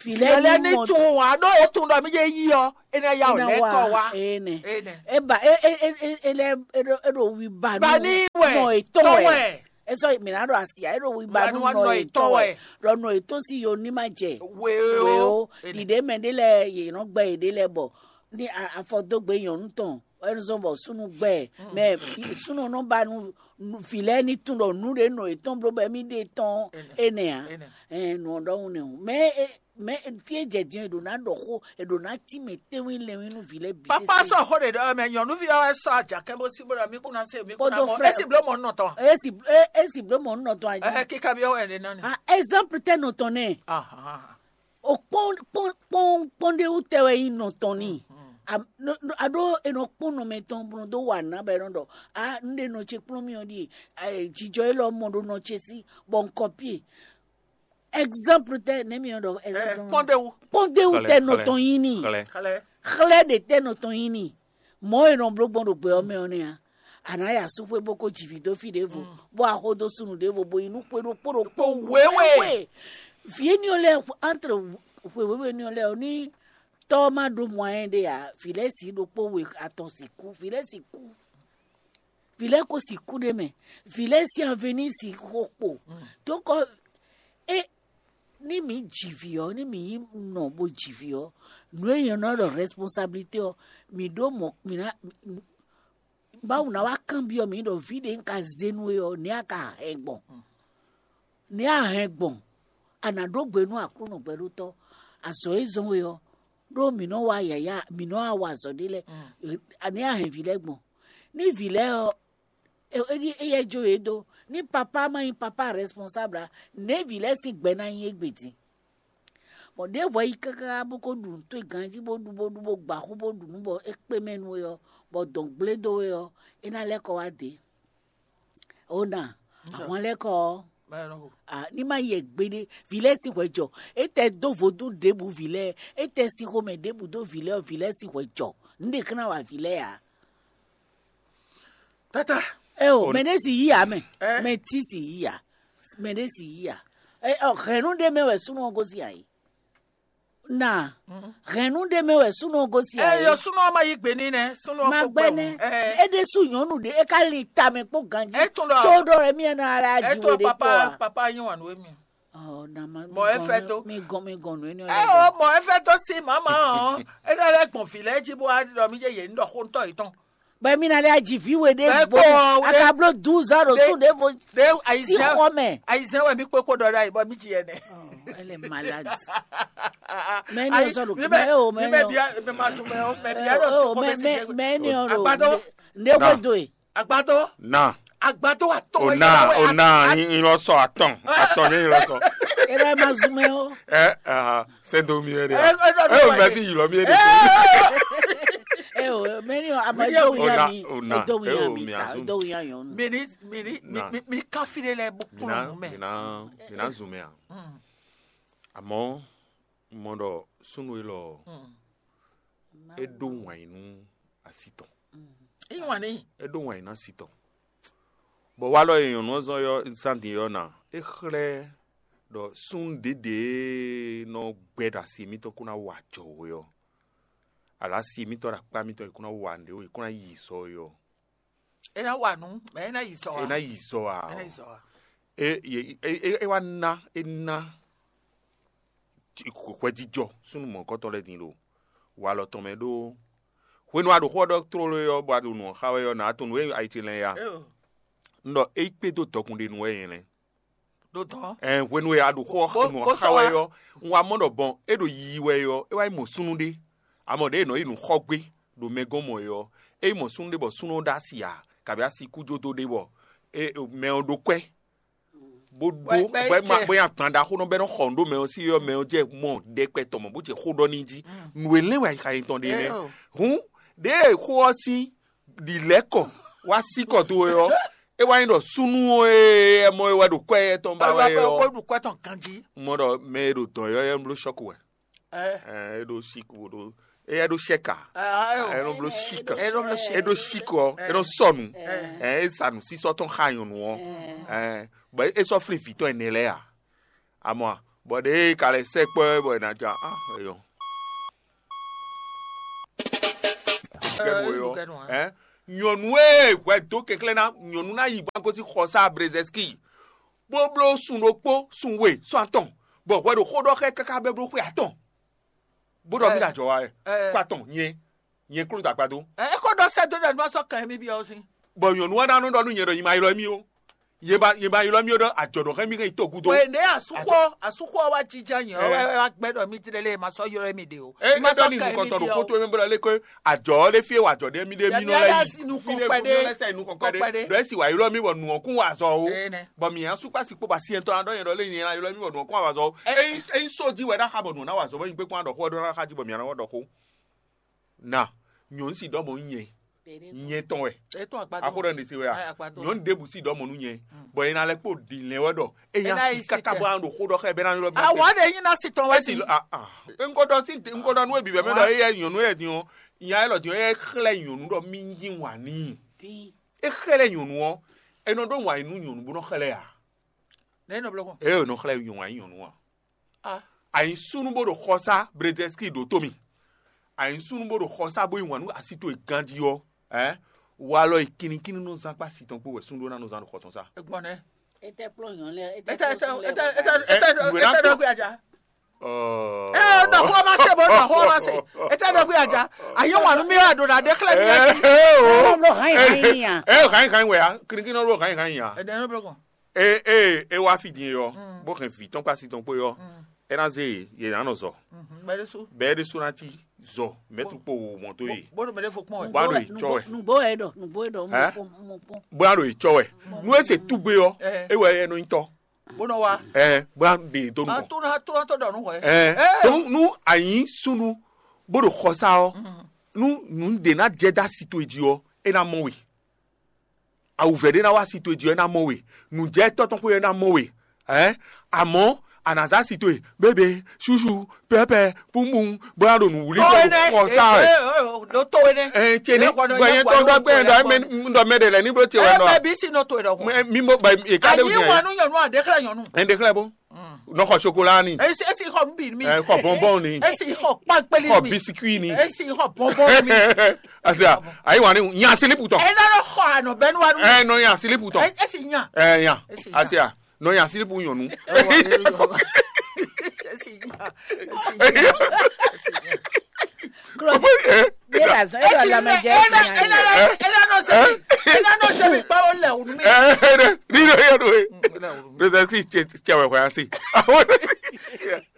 Filɛ ní tún wá ɖó e tún ɖɔ mí jɛ yí ɔ, é ná yá ɔ lɛ tɔ wá. Ene. Ene. E ba e e e e e lɛ e ɖo e ɖo wi ba ba ní wɛ nɔ etɔn tɔn wɛ. Wɛ. Esɔ mi na ɖo asia e ɖo wi ba nu nɔ etɔn wɛ. Ɖɔ nɔ etɔn si yo ní ma jɛ. Weo. Weo. Ene. Ɖiɖe mɛ ɖe lɛ yě nɔ gbɛ yě ɖe lɛ bɔ ní afɔ dó gbe nyɔnu tɔn ɛnuzɔn bɔ súnnu gbɛ mɛ súnnu nɔ ba nu vi lɛ ní tún ɖɔ nú ɖe nɔ etɔn bló bɛ mí ɖe tɔn. Ene. Ene a. Ene. Ɛn nɔ ɖɔhun nɛ o mɛ mɛ fie jɛ din e ɖo na ɖɔ xó e ɖo na ti mɛ tewin lɛwin nu vi lɛ bi. Papa sɔ xó ɖe ɖɔ mɛ nyɔnuvi ɔ́ wɛ sɔ ajakɛ bó sí bó ɖɔ mí kún ná se mí kún ná mɔ esi bló mɔ nɔ tɔn. Esi esi bló mɔ nɔ tɔn ayi. Ɛhɛ kíkà bí ɔwɛ ɖe nɔ ni. Ah, exemple tɛ nɔ tɔn nɛ. Ahan. O kpɔn kpɔn kpɔn kpɔn ɖe wú tɛ wɛ yi nɔ tɔn ni. A ɖo e nɔ kpɔn nɔ mɛ tɔn bɔ dó wà ná bɛ nɔ ɖɔ a n ɖe nɔ ce kplɔn mi ɔ ɖi jijɔ e lɔ mɔ ɖo nɔ ce sí bɔ n kɔpie. Exemple tɛ ne mi ɖɔ exemple. Kpɔndewu. Kpɔndewu tɛ nɔ tɔn yin ni. Xlɛ. Xlɛ ɖe tɛ nɔ tɔn yin ni. Mɔ e nɔ bló gbɔn ɖo gbɛ ɔ́ mɛ ɔ́ nɛ́ a. A nǎ ya súxwé bó kó ji vǐ dó fí ɖěvo, bó a xo dó súnnu ɖěvo bó yi nú xwé ɖokpó ɖokpó wěwé. Vǐ énɛ́ ɔ́ lɛ́ɛ entre xwe wěwé énɛ́ ɔ́ lɛ́ɛ ɔ́ ní tɔ́ ɔ́ má ɖó mɔ ayɛ́ ɖé ǎ, vǐ lɛ́ɛ sǐ ɖokpó we atɔn sixú, vǐ lɛ́ɛ sixú. Vǐ lɛ́ɛ ko sixú ɖ'é mɛ. Vǐ lɛ́ɛ sín avenir sixú xo kpo. Tókɔ é ní mǐ ji vǐ ɔ́, ní mǐ nyí nɔ bó ji vǐ ɔ́, nǔ e nyɛ nɔ ɖɔ responsabilité ɔ́, mǐ ɖó mɔ̌ mǐ ná Mawu ná wá kanbyɔ́ mǐ ɖɔ vǐ ɖě un ka zé nú we ɔ́, nɛ̌ a ka hɛn gbɔn? Nɛ̌ a hɛn gbɔn? A nǎ ɖó gbe nú Aklúnɔ gbɛɖótɔ́, azɔ̌ e zɔ́n we ɔ́, ɖó mǐ nɔ wa yǎyá, mǐ nɔ wa wa azɔ̌ ɖé lɛ́ɛ, nɛ̌ a hɛn vǐ lɛ́ɛ gbɔn? Ní vǐ lɛ́ɛ ɔ́, éyɛ́ jó yě dó. Ní papá ma nyí papá responsable ǎ, nɛ̌ vǐ lɛ́ɛ sín gbɛ ná nyí égbé din? Bɔ ɖěe hwɛ yi káká bó ko ɖu nǔ towe ganjí bó ɖu bó ɖu bó gba xú bó ɖu nǔ bɔ é kpé mɛ nú we ɔ́, bɔ dɔn gblé dó we ɔ́, é ná lɛ́ kɔ wá dě. Ó na ahwan lɛ́ kɔ ɔ́, ní má yɛ gbeɖé. Vǐ lɛ́ɛ sín hwɛ jɔ. É tɛ dó vodún ɖěbǔ vǐ lɛ́ɛ, é tɛ sín xomɛ ɖěbǔ dó vǐ lɛ́ɛ ɔ́, vǐ lɛ́ɛ sín hwɛ jɔ. Nǔ ɖě kán ná wa vǐ lɛ́ɛ ǎ. Tata. Eo, mɛ ɖé si yí ya mɛ. Mɛ tí si yí ya. Mɛ ɖé si yí ya. Hɛ̌nnu ɖé mɛ wɛ súnnu ɔ́ gosín ayǐ. Na hɛ̌nnu ɖé mɛ wɛ súnnu ɔ́ gosín ayǐ. Ɛ yɔ súnnu ɔ́ ma yí gbe n'i nɛ súnnu ɔ́ Ma kó gbɛ gbɛ nɛ. Ɛ É ɖésú nyɔ̌nu ɖé é ka lin tamɛ kpó ganjí. É tún ɖɔ Tó ɖɔ wɛ mí ɛnɛ ara é ji tún wɛ ɖɔ ɖé papa kpɔ́ a. Papa yín wà nú émi. Ɔ na ma Mɔ é fẹ́ tó. Mi gɔn mi gɔn nù énɛ́ Ɛ lɛ o gbɔn. Mɔ é fẹ́ tó sí màmá ɔ́. É ɖɔ lɛ gbɔn vǐ lɛ́ɛ jí bó wá ɖɔ mí yé yě ń ɖɔ xó ń tɔ yìí tɔn. Bɛ mi na lɛ ji vǐ we ɖé Bɛ bó kpɔn a ɖé- ka bló douze ans ɖo ɖé- sún ɖé vo Ɖé sí ayizɛn xɔ mɛ. Ayizɛn wɛ mí kpékpó ɖɔ ɖe ayi bɔ mí ji ɛnɛ. Oh, elle est malade. Mɛ ní Ayi- ọsọ ló mí kí mɛ- mɛ o mɛ mí ní mɛ ọ. Bia mɛ ma sùn mẹ o mɛ bia ló Ẹ o sùn kó mẹ mẹ mẹ mẹ ní ọ̀rọ̀. Agbadɔ Ne Na. Wé do e. Agbadɔ Na. Agbadɔ wa tɔ O wɛ na yàrá wɛ o na a- a- yin lɔ sɔ atɔn atɔn ní yin lɔ sɔ. Ẹ lọ ẹ ma zun mẹ o. Ẹ ah sendo mi ẹ de. Ẹ ẹ lọ Ẹ o lọ mẹ wẹ. Si yi lọ mi ẹ de. Ẹ o mẹ ní a ma Wíyá dó wíyá Ona mi. Ona Dó ẹ wíyá o mi mi ta azun. Dó wíyá yàn nù. Mini mini mi Na. Mi mi káfílẹ̀ lẹ bó Mina kúrò mú mẹ. Mina mina zun mẹ a. Mm. Àmọ́ mo ɖɔ súnnu élɔ́ Mm. É ɖó wǎn nú asi tɔn. Ìwọ̀n ni. É ɖó wǎn nú asi tɔn. Bɔ walɔ e nyɔ̌nu ɔ́ zɔn yɔ zán din yɔ ná, é xlɛ́ ɖɔ súnnu ɖěɖě e nɔ gbɛ ɖo asi mitɔn kó ná wa jɔ we ɔ́, alo asi mitɔn ɖo akpá mitɔn e kó ná wa nǔɖé we kó ná yi sɔ we ɔ́, É ná wa nǔ, mɛ é ná yi sɔ é wa. Ná yi sɔ a? É ná yi sɔ wa. É é é é wá ná é ná hwɛjijɔ súnnu mɔ̌kɔtɔn lɛ́ɛ din ɖo walɔ tɔn mɛ ɖó hwenu a ɖo xó ɔ́ ɖɔ tlóló é ɔ́, bɔ a ɖo nǔ ɔ́ xa wɛ ɔ́, nǎ tunwun nú é ayi ce lɛ́ɛ ya. É o. Un ɖɔ é yi kpé dó dɔkun ɖé nu wɛ nyɛ lɛ́ɛ. Ɖo dɔn. Ɛn hwenu e a ɖo xó Bó- nǔ bó ɔ́ xa sɔ́ wɛ wá. Ɔ́, un wá mɔ ɖɔ bɔn é ɖo yiyi wɛ é ɔ́, é wá yi mɔ súnnu ɖé. A mɔ ɖě e nɔ yi nǔ xɔ gbé ɖo mɛ gɔ́n mɔ é ɔ́, é yi mɔ súnnu ɖé bɔ súnnu ɔ́ ɖó asi ǎ, kabi asi kú jó dó ɖé bɔ é mɛ ɔ́ ɖó kwɛ́. Bó Bɔ- bó bɔ é bɔ é ma jɛ. Bó nyi agban ɖaxó nɔ bɔ é nɔ xɔ nǔ ɖó mɛ ɔ́ sí ɔ́, mɛ ɔ́ jɛ mɔ ɖɛkpɛ tɔn mɔ bó jɛ xó ɖɔ n'i jí. Nǔ e lɛ́n wɛ ayixa yětɔn ɖe nɛ́. Hǔn ɖěe xó ɔ́ sín ɖi lɛ̌ kɔ wá sí kɔ towe ɔ́, é wá nyí ɖɔ súnnu e ɛ mɔ é wɛ ɖo kwɛ étɔn ba wɛ Ɔlɔpɛ ɔ́, kó ɖu kwɛ tɔn ganjí. Mɔ ɖɔ mɛ e ɖo dɔ̌n ɔ́ é bló sɔ́ku wɛ. Ɛ. Ɛ, é ɖó síku ɖó é é ɖó sɛ́ka. Ɛ, ɛ, Ɛ nɔ bló síka. É ɖó bló sɛ́ka. É ɖó síku ɔ é nɔ sɔnu. Ɛ. Ɛ, é sa nǔsísɔ tɔn xa nyɔnu ɔ. Ɛ, bɔ é sɔ flin vǐ tɔn ɛnɛ lɛ́ɛ a. Amɔ a, Bɔ ɖěe ka lɛ́ sɛkpɔ́ ɛ bɔ è nǎ ja á eyɔn. Kɛ́ bo yɔ. Ɛ nyɔ̌nu e hwɛ dó kɛnklɛ́n ná, nyɔ̌nu ná yi bó ná gosín xɔsá Brezɛski, bó bló sun ɖokpó, sun we, sun atɔn, bɔ hwɛ ɖo xó ɖɔ xá ɛ káká bɛ́ bló xwe atɔn, bó ɖɔ mí ɖo ajɔ̌ wa wɛ. Xwe atɔn nyɛ, nyɛ kló dó agbadó. Ɛ é ko ɖɔ sɛ́ dó ɖɔ ní ma sɔ́ kɛn mì byɔ́ sín. Bɔ nyɔ̌nu ɔ́ ná nɔ ɖɔ nú nyɛ ɖɔ nyi ma ylɔ́ mì ó. Yě ba yě ba ylɔ́ mì ó ɖɔ ajɔ̌ ɖɔ hɛn mì hɛn yi tɔgúdo. Wěɖé asúxɔ asúxɔ wá jija nyɛ ɔ́ wɛ wá gbɛ́ ɖɔ mì tlɛ lé ma sɔ́ ylɔ́ mì ɖe o. É é ɖɔ ní nukɔntɔn ɖo xótó mɛ bó ɖɔ lé kɔ́ ajɔ̌ ɔ́ ɖé fí e wɔ ajɔ̌ ɖé mì ɖé mì nɔ lɛ́ yi. Mí ɖé kɔn kpɛɖé. Ɖɔ é sì wá ylɔ́ mì bɔ nǔ ɔ́ kún wa azɔ o. Bɔ mǐ asúkpá sí kpó ba sí ɛntɔ́ ná ɖɔ nyɛ ɖɔ lé nyɛ ná ylɔ́ mì bɔ nǔ ɔ́ kún wa azɔ o. Ényí só jí wɛ ná xa bɔ nǔ ɔ́ ná wa azɔ bɔ nyí gbé kpɔ́n ná ɖɔ xó ɔ́ ɖó ná xa jí bɔ mǐ ná wɔ ɖɔ xó. Na nyɔ̌nu si ɖɔ mɔ̌ nyɛ nyɛ tɔn wɛ. Axó ɖɔ ɖe se wɛ a? Nyɔ̌nu ɖěbǔ si ɖɔ mɔ̌ nú nyɛ, bɔ è ná lɛ́ kpó ɖi lɛ́n wɛ ɖɔ é nya si káká bɔ ná ɖo xó ɖɔ xá ɛ bɛ ná ylɔ́ mɛ. Awǎ ɖe nyí ná si tɔn wɛ si. Ŋkɔ ɖɔ sí ŋkɔ ɖɔ nú ebǐ bɛ mɛ ɖɔ éyɛ nyɔ̌nu yɛ din ɔ́, nya élɔ́ din ɔ́, é xlɛ́ nyɔ̌nu ɖɔ mí yí wǎn n'i. É xlɛ́ nyɔ̌nu ɔ́, é nɔ ɖó wǎn yí nú nyɔ̌nu bó nɔ xlɛ́ ǎ. Nɛ̌ nɔ blɔ́ gbɔn? É nɔ xlɛ́ nyɔ̌nu wǎn yí nyɔ̌nu ǎ. Ànyísúnú bó ɖo xɔsá Brezɛ́nskí ɖó tó mì. Ànyísúnú bó ɖo xɔsá bó yí wǎn nú así towe ganjí ɔ́, ɛ, walɔ e kinnikínní nɔ zán kpó asi tɔn kpó wɛ súnnu ɖó ná nɔ zán ɖo xɔ tɔn sá. Egbɔn nɛ́. Ete kplɔ́n nyɔ̌nu lɛ́ɛ, ete Ete ete ete ete ete ete ɖɔ gbé aja. Ɔ. Ɛ ɖɔ xó ma se bó ɖɔ xó ma se. Ete ɖɔ gbé aja. Ayi wǎn nú mi wá ɖo ɖa ɖe xlɛ́ mi ati. Ɛ o. Ɔlɔ hàn yín hàn yín ya. Ɛ hàn yín hàn yín wɛ ya. Kinnikínní nɔ ɖo hàn yín hàn yín ya. Ede nɔ blɔkɔ. E e e wá fí din e ɔ́, bó hɛn vǐ tɔn kpó asi tɔn kpó é ɔ́, é ná zé yě yě ná nɔ zɔ. Bɛ́ ɖésú. Bɛ́ ɖésú ná cí zɔ mɛ̌tru kpó wǒ mɔ dó yě. Bó ɖo mɛ ɖé fo kpɔn wɛ. Bó ná ɖo yě cɔ wɛ. Nǔgbó wɛ ɖɔ nǔgbó wɛ ɖɔ mo Hɛn? Kpɔn mo kpɔn. Bó ná ɖo yě cɔ wɛ. Nú é se túgbe ɔ́, é wɛ é nɔ nyí tɔ́. Bó nɔ wá. Ɛ bó ná ɖe yě dó nukɔn. Tó ná tó ná tó ɖɔ nú hwɛ. Ɛ tó nú ànyí súnnu bó ɖo xɔsá ɔ́, nú nǔ ɖě ná jɛ dó asi towe jí ɔ́, é ná mɔ we. Awǔvɛ́ ɖé ná wá si towe jí ɔ́, é ná mɔ we. Nǔjɛtɔ́ tɔn xwé ɔ́, é ná mɔ we. Ɛ a mɔ̌, a nǎ zá si towe bébé, ṣúṣú, pɛ́pɛ, púmbún, bó ná ɖo nǔ wlí bó ɖo xɔ sá wɛ. Ɖó to énɛ́. Ɛ ce ní gbɛnyɛ tɔn ɖɔ gbɛnyɛ ɖɔ mɛ ɖɔ mɛ ɖe lɛ ní bló ce wɛ nɔ. Ɛ bɛ bí si nɔ to ɛ ɖɔ. Mɛ mi mo ba e ka de Anyi wɛ nu nyɔnu a ɖe xlɛ nyɔnu. Ɛ ɖe xlɛ bó. Nɔ xɔ sokola ni. Esi esi xɔ nbin mi. Ɛ xɔ bɔnbɔn ni. Esi xɔ kpankpeli mi. Xɔ bisikui ni. Esi xɔ bɔnbɔn mi. Asia, ayi wani nya silipu tɔn. Ena nɔ xɔ anɔ bɛnu wanu. Ɛ nɔ nya silipu tɔn. Esi nya. Ɛ nya. Esi nya. Asia, nɔ nya silipu nyɔnu. Esi nya. Esi nya. Esi nya. Klo de la zɔn e ɖɔ lamɛjɛ esi nya. Ena nɔ sɛbi ena nɔ sɛbi kpawo lɛ wunu mi. Ɛ ɛ ni ɖo yɛ ɖo ye. Ɖo sɛ si cɛ cɛ wɛ hwɛ asi.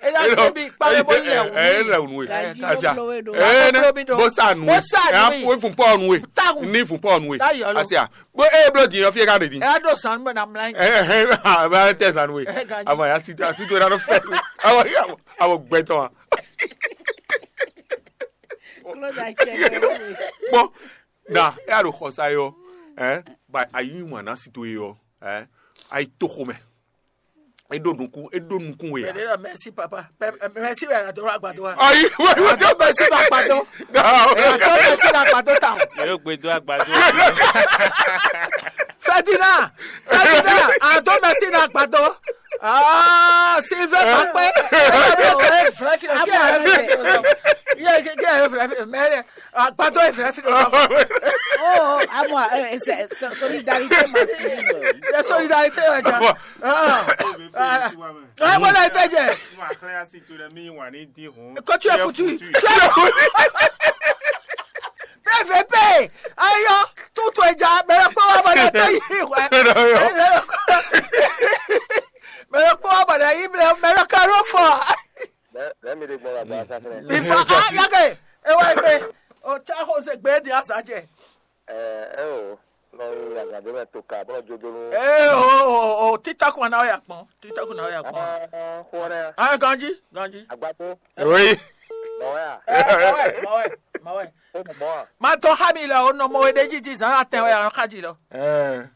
Ena sɛbi kpawo bɔ lɛ wunu mi. Ɛ lɛ wunu ye. Asia. Ɛ ne bó sa nu ye. Bó sa nu ye. Ɛ fun pɔ nu ye. Ni fun pɔ nu ye. Asia. Bó e blo di yɔ fie ka de di. Ɛ do san mɛ na mla. Ɛ ɛ ɛ ba tɛ san nu ye. Ama ya si to asi to na fɛ. Ama ya ama gbɛtɔ wa. Klo da cɛ. Bɔn na e a ɖo xɔsa yɔ, ɛ ba ayi ŋun ana si to ye yɔ, ɛ ayi to xomɛ. E ɖo nukun e ɖo nukun we ya. Mɛsi papa. Mɛsi wɛ a do agbado wa. Ayi wɛ wɛ. A do mɛsi na agbado. A do mɛsi na agbado ta. Yóò gbé dó àgbàdo. Ferdinand, Ferdinand, a do mɛsi na agbado. Ah, Sylvain Bakpé. Ɛ vrɛ fi. Yɛ kɛ vrɛ fi mɛ. Agbadɔ ye fɛnɛ fi ɖo. Oh, amo, eh, c'est solidarité masculine. Ye solidarité wɛ ja. Ɛ bɔ na ete jɛ. Ko tu ye futu. Bɛɛ fɛ bɛɛ ayɔ tutu ɛja bɛrɛ kpɔ wa bɔ na tɛ yi wɛ. Bɛrɛ kpɔ wa bɔ na yi bɛrɛ karo fɔ. Bɛ bɛ mi de gbɔ wa gba sa fɛnɛ. Ifa a yake ewa gbe o tsa xo se gbe di asa jɛ. Ɛ ɛ o nɔ yi agade mɛ to ka bɔ jojonu. Ee o o o titaku na ya kpɔn titaku na ya kpɔn. Aa xɔrɛ. Aa ganji ganji. Agbato. Oyi. Mɔwɛ a. Ɛ mɔwɛ mɔwɛ mɔwɛ. O mɔ a. Ma tɔ xa mi lɛ o nɔ mɔ we ɖe jiji zan atɛ wɛ anɔ xa ji lɔ. Ɛɛ.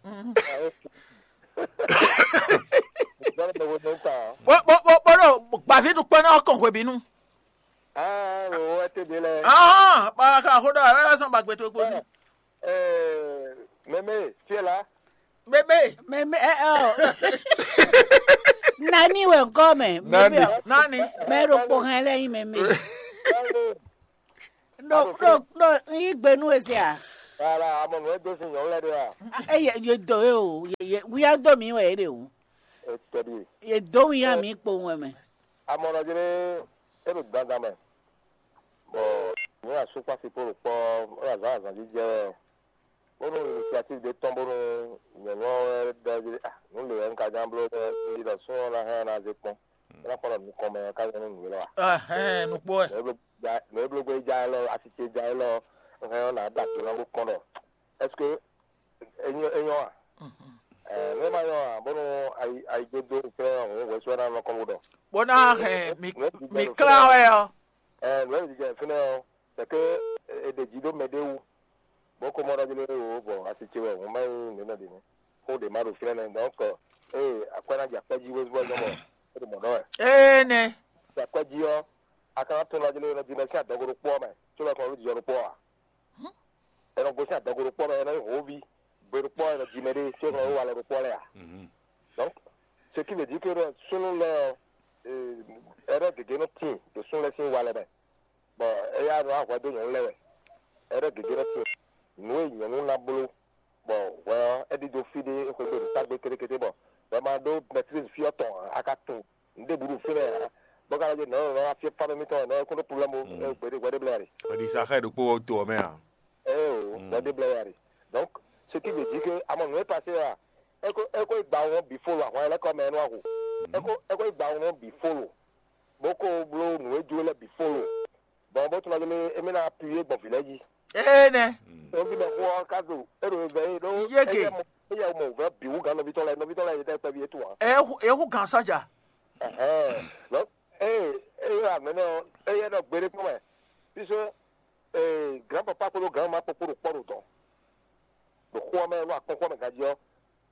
Bó bó bó bó ɖo gbaví ɖukpɔ́ ná kɔn hwebǐnu. Ah, o ete de lɛ. Ahɔn, ba ka xo ɖɔ ɛ sɔn ba gbɛtɔ gbɔ. Eh, mɛmɛ, tiɛ la. Mɛmɛ. Mɛmɛ ɛ ɔ. Nani wɛ ŋkɔ mɛ? Nani? Nani? Mɛ ɖokpó hɛn lɛ nyi mɛ mɛ. Ɖo ɖo ɖo n yí gbe nú we se a? Voilà, amɔ nǔ e dó sin nyɔ̌nu lɛ́ɛ ɖe a? Eye ye dó ye o, ye ye wíyá dó mi wɛ ye ɖe o. Etɛɖi. Ye dó wíyá mi kpowun wɛ mɛ. Amɔ nɔ jlé e ɖo dandan mɛ. Bɔ nyɛ asú kpasi kpo ɖo kpɔ ɔ azǎn azǎn jí jɛ wɛ. Bónú initiative ɖé tɔn bónú nyɔ̌nu ɔ́ wɛ ɖɔ jí ah nǔ lě wɛ un ka nya bló bɔ un ɖi ɖɔ sún ɔ́ ná hɛn ɔ́ ná zé kpɔ́n. É ná kpɔ́n ɖɔ nukɔn mɛ ɔ́ ká nyɔ́ nú nǔ élɔ́ a? Nǔ e bló gbé ja élɔ́, asi ce ja élɔ́, un hɛn ɔ́ nǎ ɖo ajo ná bó kpɔ́n ɖɔ est-ce que é nyɔ́ é nyɔ́ a? Nǔ e ma nyɔ́ a bónú ayi ayi dó dó fɛ́n hǔn hwɛsú ɔ́ ná nɔ kɔn bó ɖɔ. Bó ná hɛn mi mi klán wɛ ɔ́. Nǔ e mi jɛ fínɛ́ ɔ́, c'est que è ɖe jǐ ɖó mɛɖé wú. Bó ko mɔ ɖɔ jí lé wò bɔ asi ce wɛ hǔn má nyí nǔ nɔ ɖě nɛ́. Xó ɖě má ɖo fínɛ́ nɛ́. Donc, ée akwɛ́ ná jɛ akwɛ́ jí wezú ɔ́ gbɔn bɔ é ɖo mɔ̌ ɖɔ wɛ. Énɛ́. Jɛ akwɛ́ jí ɔ́, a ka ná tunwun ɖɔ jí lé nɔ jí mɛ sín adɔgo ɖokpó ɔ́ mɛ, có lɔ kɔn ɖó jijɔ ɖokpó ɔ́ ǎ. È nɔ gosín adɔgo ɖokpó ɔ́ mɛ, è nɔ nyí hǒví gbe ɖokpó ɔ́, è nɔ ji mɛ ɖé, có lɔ ɖó walɔ ɖokpó ɔ́ lɛ́ɛ ǎ. Donc, ce qui veut dire que ɖɔ súnnu lɛ́ɛ ɔ́, ɛɖɔ́ gěgé nɔ tíin ɖo súnnu lɛ́ɛ sín walɛ mɛ, bɔ éyɛ́ nɔ wá hwɛ dó nyɔ̌nu lɛ́ɛ wɛ. Ɛɖɔ́ gěgé nɔ tíin nǔ e nyɔ̌nu ná bló bɔ hwɛ ɔ́, é ɖidó fí ɖé xwé gbe ɖo tágbe kétékété bɔ hwɛ ma ɖó mɛtlízi fí ɔ́ tɔn ǎ, a ka tunwun nǔɖé bǔ ɖo fínɛ́ ǎ. Bɔ ka lɔ jí nɔ̌ nɔ̌ afyɛ́ fá mɛ mitɔn wɛ nɔ̌ kún ɖó problème ɛ gbeɖé hwɛɖé blɛ́ ɖe. Hwɛɖisa xá ɛ ɖokpó ɔ́ to ɔ́ mɛ a? Ée o, hwɛɖé blɛ́ wɛ ɖe. Donc, ce qui veut dire que amɔ nǔ e passé a, é ko é ko yi gba wɔn bǐ folo ahwan lɛ́ɛ kɔ mɛ nú ahu. É ko é ko yi gba wɔn bǐ folo, bó ko bló nǔ e jló lɛ́ɛ bǐ folo. Bɔn bó tunɔ gbélé émí ná apuyé gbɔn vǐ lɛ́ɛ jí. Énɛ́. Nɔví mɛ xó ɔ́ ká ɖo é ɖo vɛ é ɖó Yége. Éyɛ́ mɔ éyɛ́ mɔ vɛ̌ bǐ wú gǎn nɔví tɔn lɛ́ɛ, nɔví tɔn lɛ́ɛ yě tɛ́ kpɛví é tun ǎ. Ɛ hu ɛ hu gan sɔ́ja. Ɛhɛn. Lɔ eye eye amɛnɛ ɔ́, éyɛ́ nɔ gbeɖé kpɔ́n mɛ. Puisque ee grand papa kpódó grand maman kpó kpó ɖo kpɔ́ ɖo dɔn. Ɖo xó ɔ́ mɛ, ɖo akpɔ́nkpɔ́n mɛ ganjí ɔ́,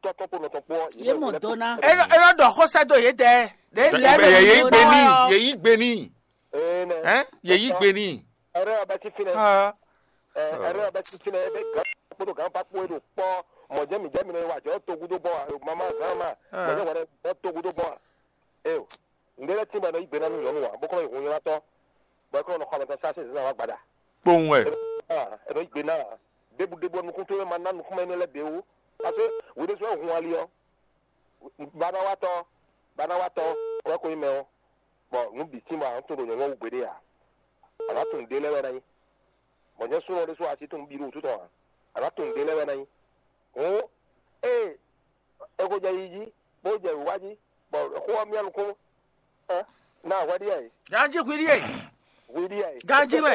tɔ́ tɔn kpó nɔ tɔn kpó ɔ́, yě Yě mɔ dó ná. Enɔ enɔ ɖɔ xó sɛ́ dó yědɛɛ. Ɖě lɛ́ɛ Mɛ ɖo yě yí yí gbe n'i, ɔ́. Yě yí gbe n'i. Ée nɛ. Hɛn? Yě yí gbe n'i. Ɛrɛ ɔ́ bɛ sín fínɛ́. Ah. Ɛ, ɛrɛ ɔ́ bɛ sín fínɛ́. Ebe gǎn kpódó gǎn pa kpó e ɖo kpɔ́ mɔ̌ jɛ mǐ jɛ mǐ nɔ yi wǎ jɛ ɔ́ togu dó gbɔn a? Mama gǎn ma. Ah. Mɔ̌ jɛ hwɛɖɛ bɔ togu dó gbɔn a? Eo. Ŋɖé lɛ́ɛ tín bɔ è nɔ yí gbe ná nú nyɔ̌nu ǎ, bó kɔn nɔ yi hunnywatɔ́, bɔ é kɔn nɔ xɔ mɛ tɔn sásé zǐn ná wá gbaɖa. Kpowun wɛ. È nɔ yí gbe ná ǎ. Ɖěbǔ ɖěbǔ ɔ́, nukún towe ma ná nukúnmɛ énɛ́ lɛ́ɛ bǐ wú. Parce que hwi ɖésú wɛ hun ali ɔ́, banawatɔ́, banawatɔ́ wɛ ko nyí mɛ ɔ́, bɔ nǔ bǐ tín bɔ a nǎ tunwun ɖo nyɔ̌nu ɔ́ wú gbeɖé ǎ. A nǎ tunwun ɖě lɛ́ɛ wɛ ná nyí. Bɔ nyɛ súnnu ɔ́ ɖésú a sixú tunwun bí ɖo wútu tɔn ǎ. A nǎ tunwun ɖě lɛ́ɛ wɛ ná nyí. Hǔn, ée é xo jɛ yi jí, bó jɛ wǐwá jí, bɔ xó ɔ́ myá nukún. Ɛ, na hwɛ ɖíe ɛ. Ganji hwi ɖíe. Hwi ɖíe ɛ. Ganji wɛ.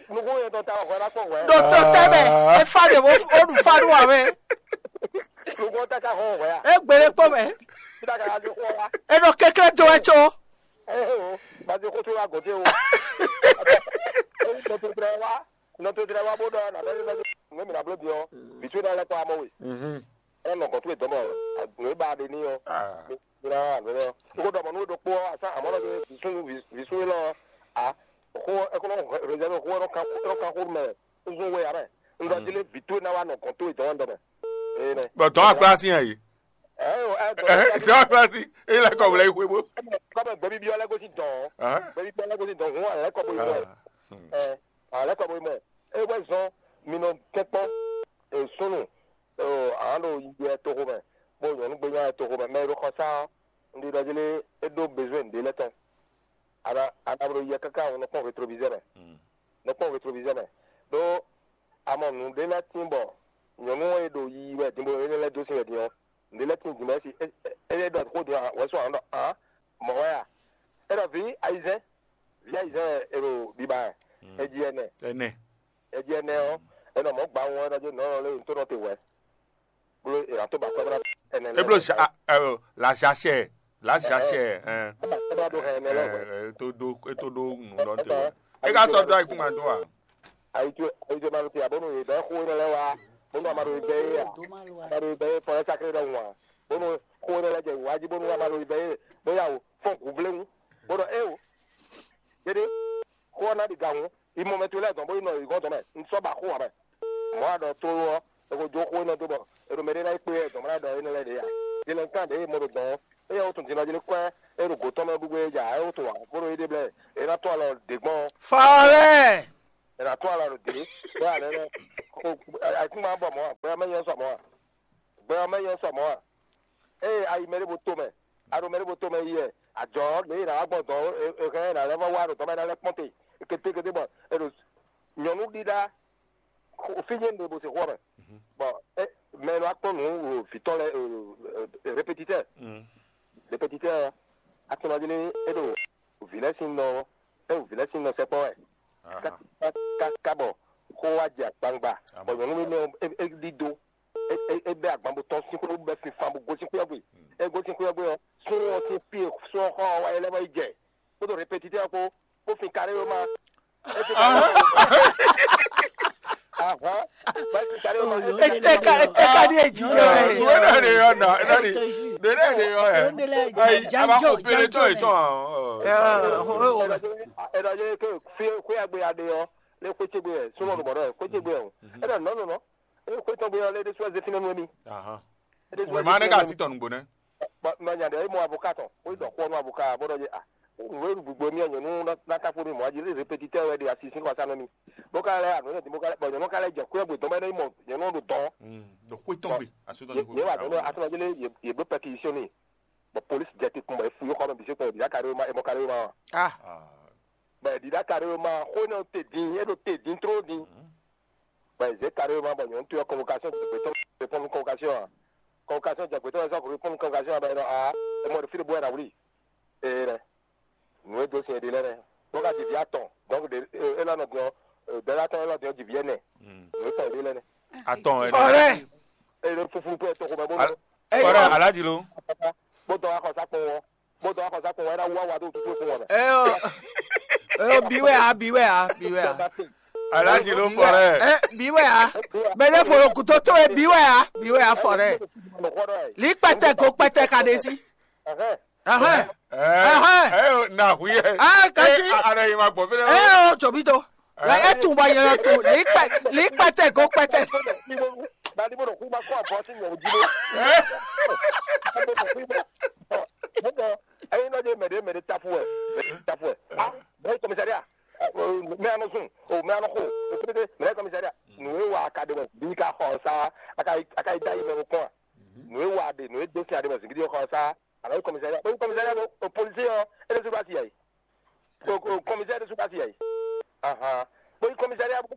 Nukún yɛn tɔn ta wɛ hwɛ ná kpɔn hwɛ. Ɖo to tɛ mɛ, e fa ɖe wo o ɖu fa ɖu wɛ. Nukún ta ka hɔn hwɛ a? E gbele kpɔ mɛ. Kita ka ka di xɔ wa. E nɔ kekle do wɛ tso. Ɛ o, ba di xo to wa gɔte o. E nɔ to tlɛ wa, nɔ to tlɛ wa bó dɔ na bɛ bɛ. Ŋmɛ mi na blo diɔ. Bitu na lɛ kɔ amɔ we. Mhm. Ɛ nɔ gɔn towe dɔmɔ. Nɔ e ba de ni ɔ. Ah. Ra nɔ. Ko dɔmɔ nu ɖokpo ɔ asa amɔ nɔ bi visu visu lɔ. A. Ko e ko nɔ réserve ko nɔ kan ko nɔ kan ko mɛ. Nzun we amɛ. Nzɔ dile vitu na wa nɔ gɔn towe dɔmɔ dɔmɛ. Ee nɛ. Bɔ dɔn akpla si yɛ yi. Ɛ o ɛ dɔn. Dɔn akpla si. Eyi lɛ kɔ wlɛ yi xwe bo. Kɔmɛ gbɛbi bi ɔlɛ gosi dɔn. Gbɛbi bi ɔlɛ gosi dɔn hun alɛ kɔ bo yi mɔ. Ɛ alɛ kɔ bo yi mɔ. E wɛ zɔn mi nɔ kɛkpɔ. Esunu. Ɔ, a nɔ ɖo yiyi wɛ toxo mɛ, bó nyɔ̌nu gbe nya wɛ toxo mɛ, mɛ e ɖo xɔ sá ɔ́, un ɖi ɖɔ jí lé é ɖó bezwɛn nǔɖé lɛ́ɛ tɔn. A nǎ a nǎ ɖo yiyi káká nɔ kpɔ́n rétroviseur mɛ, nɔ kpɔ́n rétroviseur mɛ. Ɖó a mɔ nǔɖé lɛ́ɛ tín bɔ nyɔ̌nu e ɖo yiyi wɛ din bó énɛ́ lɛ́ɛ dó sin wɛ din ɔ́, nǔɖé lɛ́ɛ tín din bɔ é si é é é ɖɔ xó din ɔ́, wɛ̌ sɔ́ a nɔ ɖɔ ǎ, mɔ̌ wɛ a? É ɖɔ vǐ ayizɛ́n, vǐ ayizɛ́n wɛ è ɖo biba wɛ, é jí ɛnɛ. Ɛnɛ. Eji ɛnɛ ɔ́, è nɔ mɔ̌ gba ɔ́, é nɔ jó nɔ̌ lé ntó nɔ te hwɛ̌. Bó è nǎ tó ba kɔ́ ná ɛnɛ lɛ́ɛ. Eblo la jachɛ la jachɛ ɛn. Ɛ ba kɔ́ ná ɖó hɛn ɛnɛ lɛ́ɛ hwɛ̌. Ɛ tó ɖó é tó ɖó nǔ ɖɔ te hwɛ̌. É ka sɔ́ dó ayikún ma dó a? Ayi tó ayi tó ma ɖo te a bónú è bɛ́ xó énɛ́ lɛ́ɛ wá bónú a ma ɖo bɛ́ é a? A ma ɖo bɛ́ é fɔ é sáklé ɖɔhun a? Bónú xó énɛ́ lɛ́ɛ jɛ wǐwá jí bónú a ma ɖo bɛ́ é bóyá o fɔ́n gǔvléwún bónú é o. Dédé xó ɔ́ ná ɖi gǎn hǔn, yi mɔ mɛ towe lɛ́ɛ dɔn bó yi nɔ yǐgɔ́ dɔn mɛ, un sɔ́ ba xó ǎ mɛ. Mɔ̌ a ɖɔ tlóló ɔ́, È ko jó xó énɛ́ dó bɔ è ɖo mɛ ɖé ná yi kpé wɛ dɔ̌n bó ná ɖɔ énɛ́ lɛ́ɛ ɖě ǎ. Din lɛ́ɛ kan ɖě e mɔ ɖo dɔ̌n, éyɛ́ wútu din ɔ́ jí ní kɔ́ ɛ ɖo gǒ tɔn mɛ bú gbé ja é wútu ǎ, bó ɖo yí ɖe blɛ́ è nɔ tɔ́n alɔ ɖě gbɔn. Fɔlɛ́. È nǎ tɔ́n alɔ ɖě bó ǎ nɛ́nɛ́. Ayǐkúngban bɔ mɔ̌ ǎ, gbɛ ɔ́ mɛ nyɛ sɔ mɔ̌ ǎ. Gbɛ ɔ́ mɛ nyɛ sɔ mɔ̌ ǎ. Ée a yi mɛ ɖěvo tomɛ, a ɖo mɛ ɖěvo tomɛ yi wɛ, ajɔ̌ lě e è nǎ wá gbɔn dɔ̌n é hɛn ná lɛ́ vɔ́ wá ɖo dɔ̌n mɛ ná lɛ́ kpɔ́n te kétékété bɔ è ɖo nyɔ̌nu ɖíɖá fí nyé ɖe bó se xó ɔ́ mɛ. Bɔ mɛ e nɔ wá kpɔ́n nǔ vǐ tɔn lɛ́ɛ répétitɛ́, répétitɛ́ ɔ́, a tunɔ jí ní é ɖo vǐ lɛ́ɛ sín nɔ é ɖo vǐ lɛ́ɛ sín nɔ sɛkpɔ́ wɛ. Káká bɔ xó wá jɛ akpangba, bɔ nyɔ̌nu énɛ́ ɔ́ é ɖídó, é bɛ́ agban bó tɔ́n sín xwé bó bɛ́ sinfan bó gosín xwé ɔ́ gbe. É gosín xwé ɔ́ gbe ɔ́, súnnu ɔ́ sín fí e sɔ́ xɔ ɔ́ wá é lɛ́ vɔ yi jɛ kpódó répétitɛ́ ɔ́ kpó, bó fin kaɖéwéma. É fin kaɖéwéma. Ahán, bó fin kaɖéwéma. Eteka eteka ɖi eji jɔ ɛ. Wena ɖe yɔ na, ena ɖi. Ɖe ɖe ɖe yɔ ɛ. Ayi, aba ko pele tɔ etɔn. Ɛ ɔ ɔ. Ɛ ɔ ɛ ke fi xwé agbe aɖe ɔ, lé xwé ce gbe ɛ, súnmọ́ ɖo bɔ̌ ɖɔ ɛ, xwé ce gbe ɔ. Ɛ ɖɔ nɔ nɔ nɔ. Ɛ xwé tɔn gbe ɔ lé ɖésú ɛ zé fínɛ́ nú émí. Ahán. Wema ne ka si tɔ nugbo nɛ. Ba nya ɖe mɔ avocat tɔn, wo ɖɔ xɔ nú avocat bó ɖɔ a, wo ɖu gbogbo mi nyɔnu na ta fo mi mɔ aji répétitɛ wɛ ɖe asi sin kɔsa nɔ mi. Bó ka lɛ anu ne bó ka lɛ bɔ nyɔnu ka lɛ jɛ kúyɛ gbe dɔn bɛ ne mɔ nyɔnu ɖo dɔn. Ɖo xwé tɔn gbe asu tɔn ne wa ɖɔ atɔnɔ jele ye ɖo pɛkisiyɔn ni. Bɔ polisi jɛ te kun bɔ efu yɔ xɔ mɛ bisi kun ɖiɖa kari ma emɔ kari ma. Ah. Bɔ ɖiɖa kari ma xo ne te din e ɖo te din tro din. Bɔ è zě carrément bɔ nyɔ̌nu towe ɔ́ convocation jɛ gbětɔ́ répondre convocation ǎ. Convocation jɛ gbětɔ́ wɛ sɔ́ répondre convocation ǎ bɔ è nɔ aa è mɔ ɖo fí ɖé bó wɛ ná wlí. Ee nɛ. Nǔ e dó sin è ɖe lɛ́ɛ nɛ. Bó ka ji vǐ atɔn, donc ɖe élɔ́ nɔ din ɔ́, dɛ̌lá tɔn élɔ́ din ɔ́ ji vǐ ɛnɛ. Nǔ e tɔn è ɖe lɛ́ɛ nɛ. Atɔn ɛ. Fɔrɛ. È ɖo fuflu kpó ɛ tɔn xomɛ bó nɔ. Fɔrɛ alájí ló. Bó dɔn axɔsá kpɔn ɔ́. Bó dɔn axɔsá kpɔn ɔ́, é ná wú awa dó tutú fún ɔ́ mɛ. Ɛ ɔ, ɛ ɔ, bi wɛ a, bi wɛ a, bi wɛ a. Alájí ló fɔ rɛ. Ɛ, bi wɛ a. Mɛ ɖé fo ɖo kútó tó e bi wɛ a, bi wɛ a fɔ rɛ. Lǐ kpɛtɛ ko kpɛtɛ ka ɖe sí. Ahɛn. Ahɛn. Ɛ ɛ na hu yɛ. Ah, kasi. Ɛ, a- a- a- ma gbɔ fɛnɛ. Ɛ ɔ, tsobi to. Ɛ, e tun bɔ yɛlɛ tun. Lǐ kpɛ, lǐ kpɛtɛ ko kpɛtɛ. Dadi bó ɖo kú ma kó abɔ sí nyɔ̌nu jí ɖó. Ɛ. Bó ɖo kú ma. Bó ɖɔ, ɛyin nɔ dé mɛ ɖé mɛ ɖé tafu wɛ, mɛ ɖé tafu wɛ. Ah, mɛ komisariya. Mɛ anɔ sun, o mɛ anɔ xo, o pété, mɛ komisariya. Nù e wa ka ɖe mɔ, bí ka xɔ sa, a ka a ka yi da yi mɛ ko kɔn. Nù e wa ɖe, nù e dó sin a ɖe mɔ, zingidi xɔ sa, a ka yi komisariya. Bó yi komisariya bó, o polisi ɔ, e ɖe su ba si yɛ yi. O o komisariya ɖe su ba si yɛ yi. Ahan. Bó yi komisariya bó.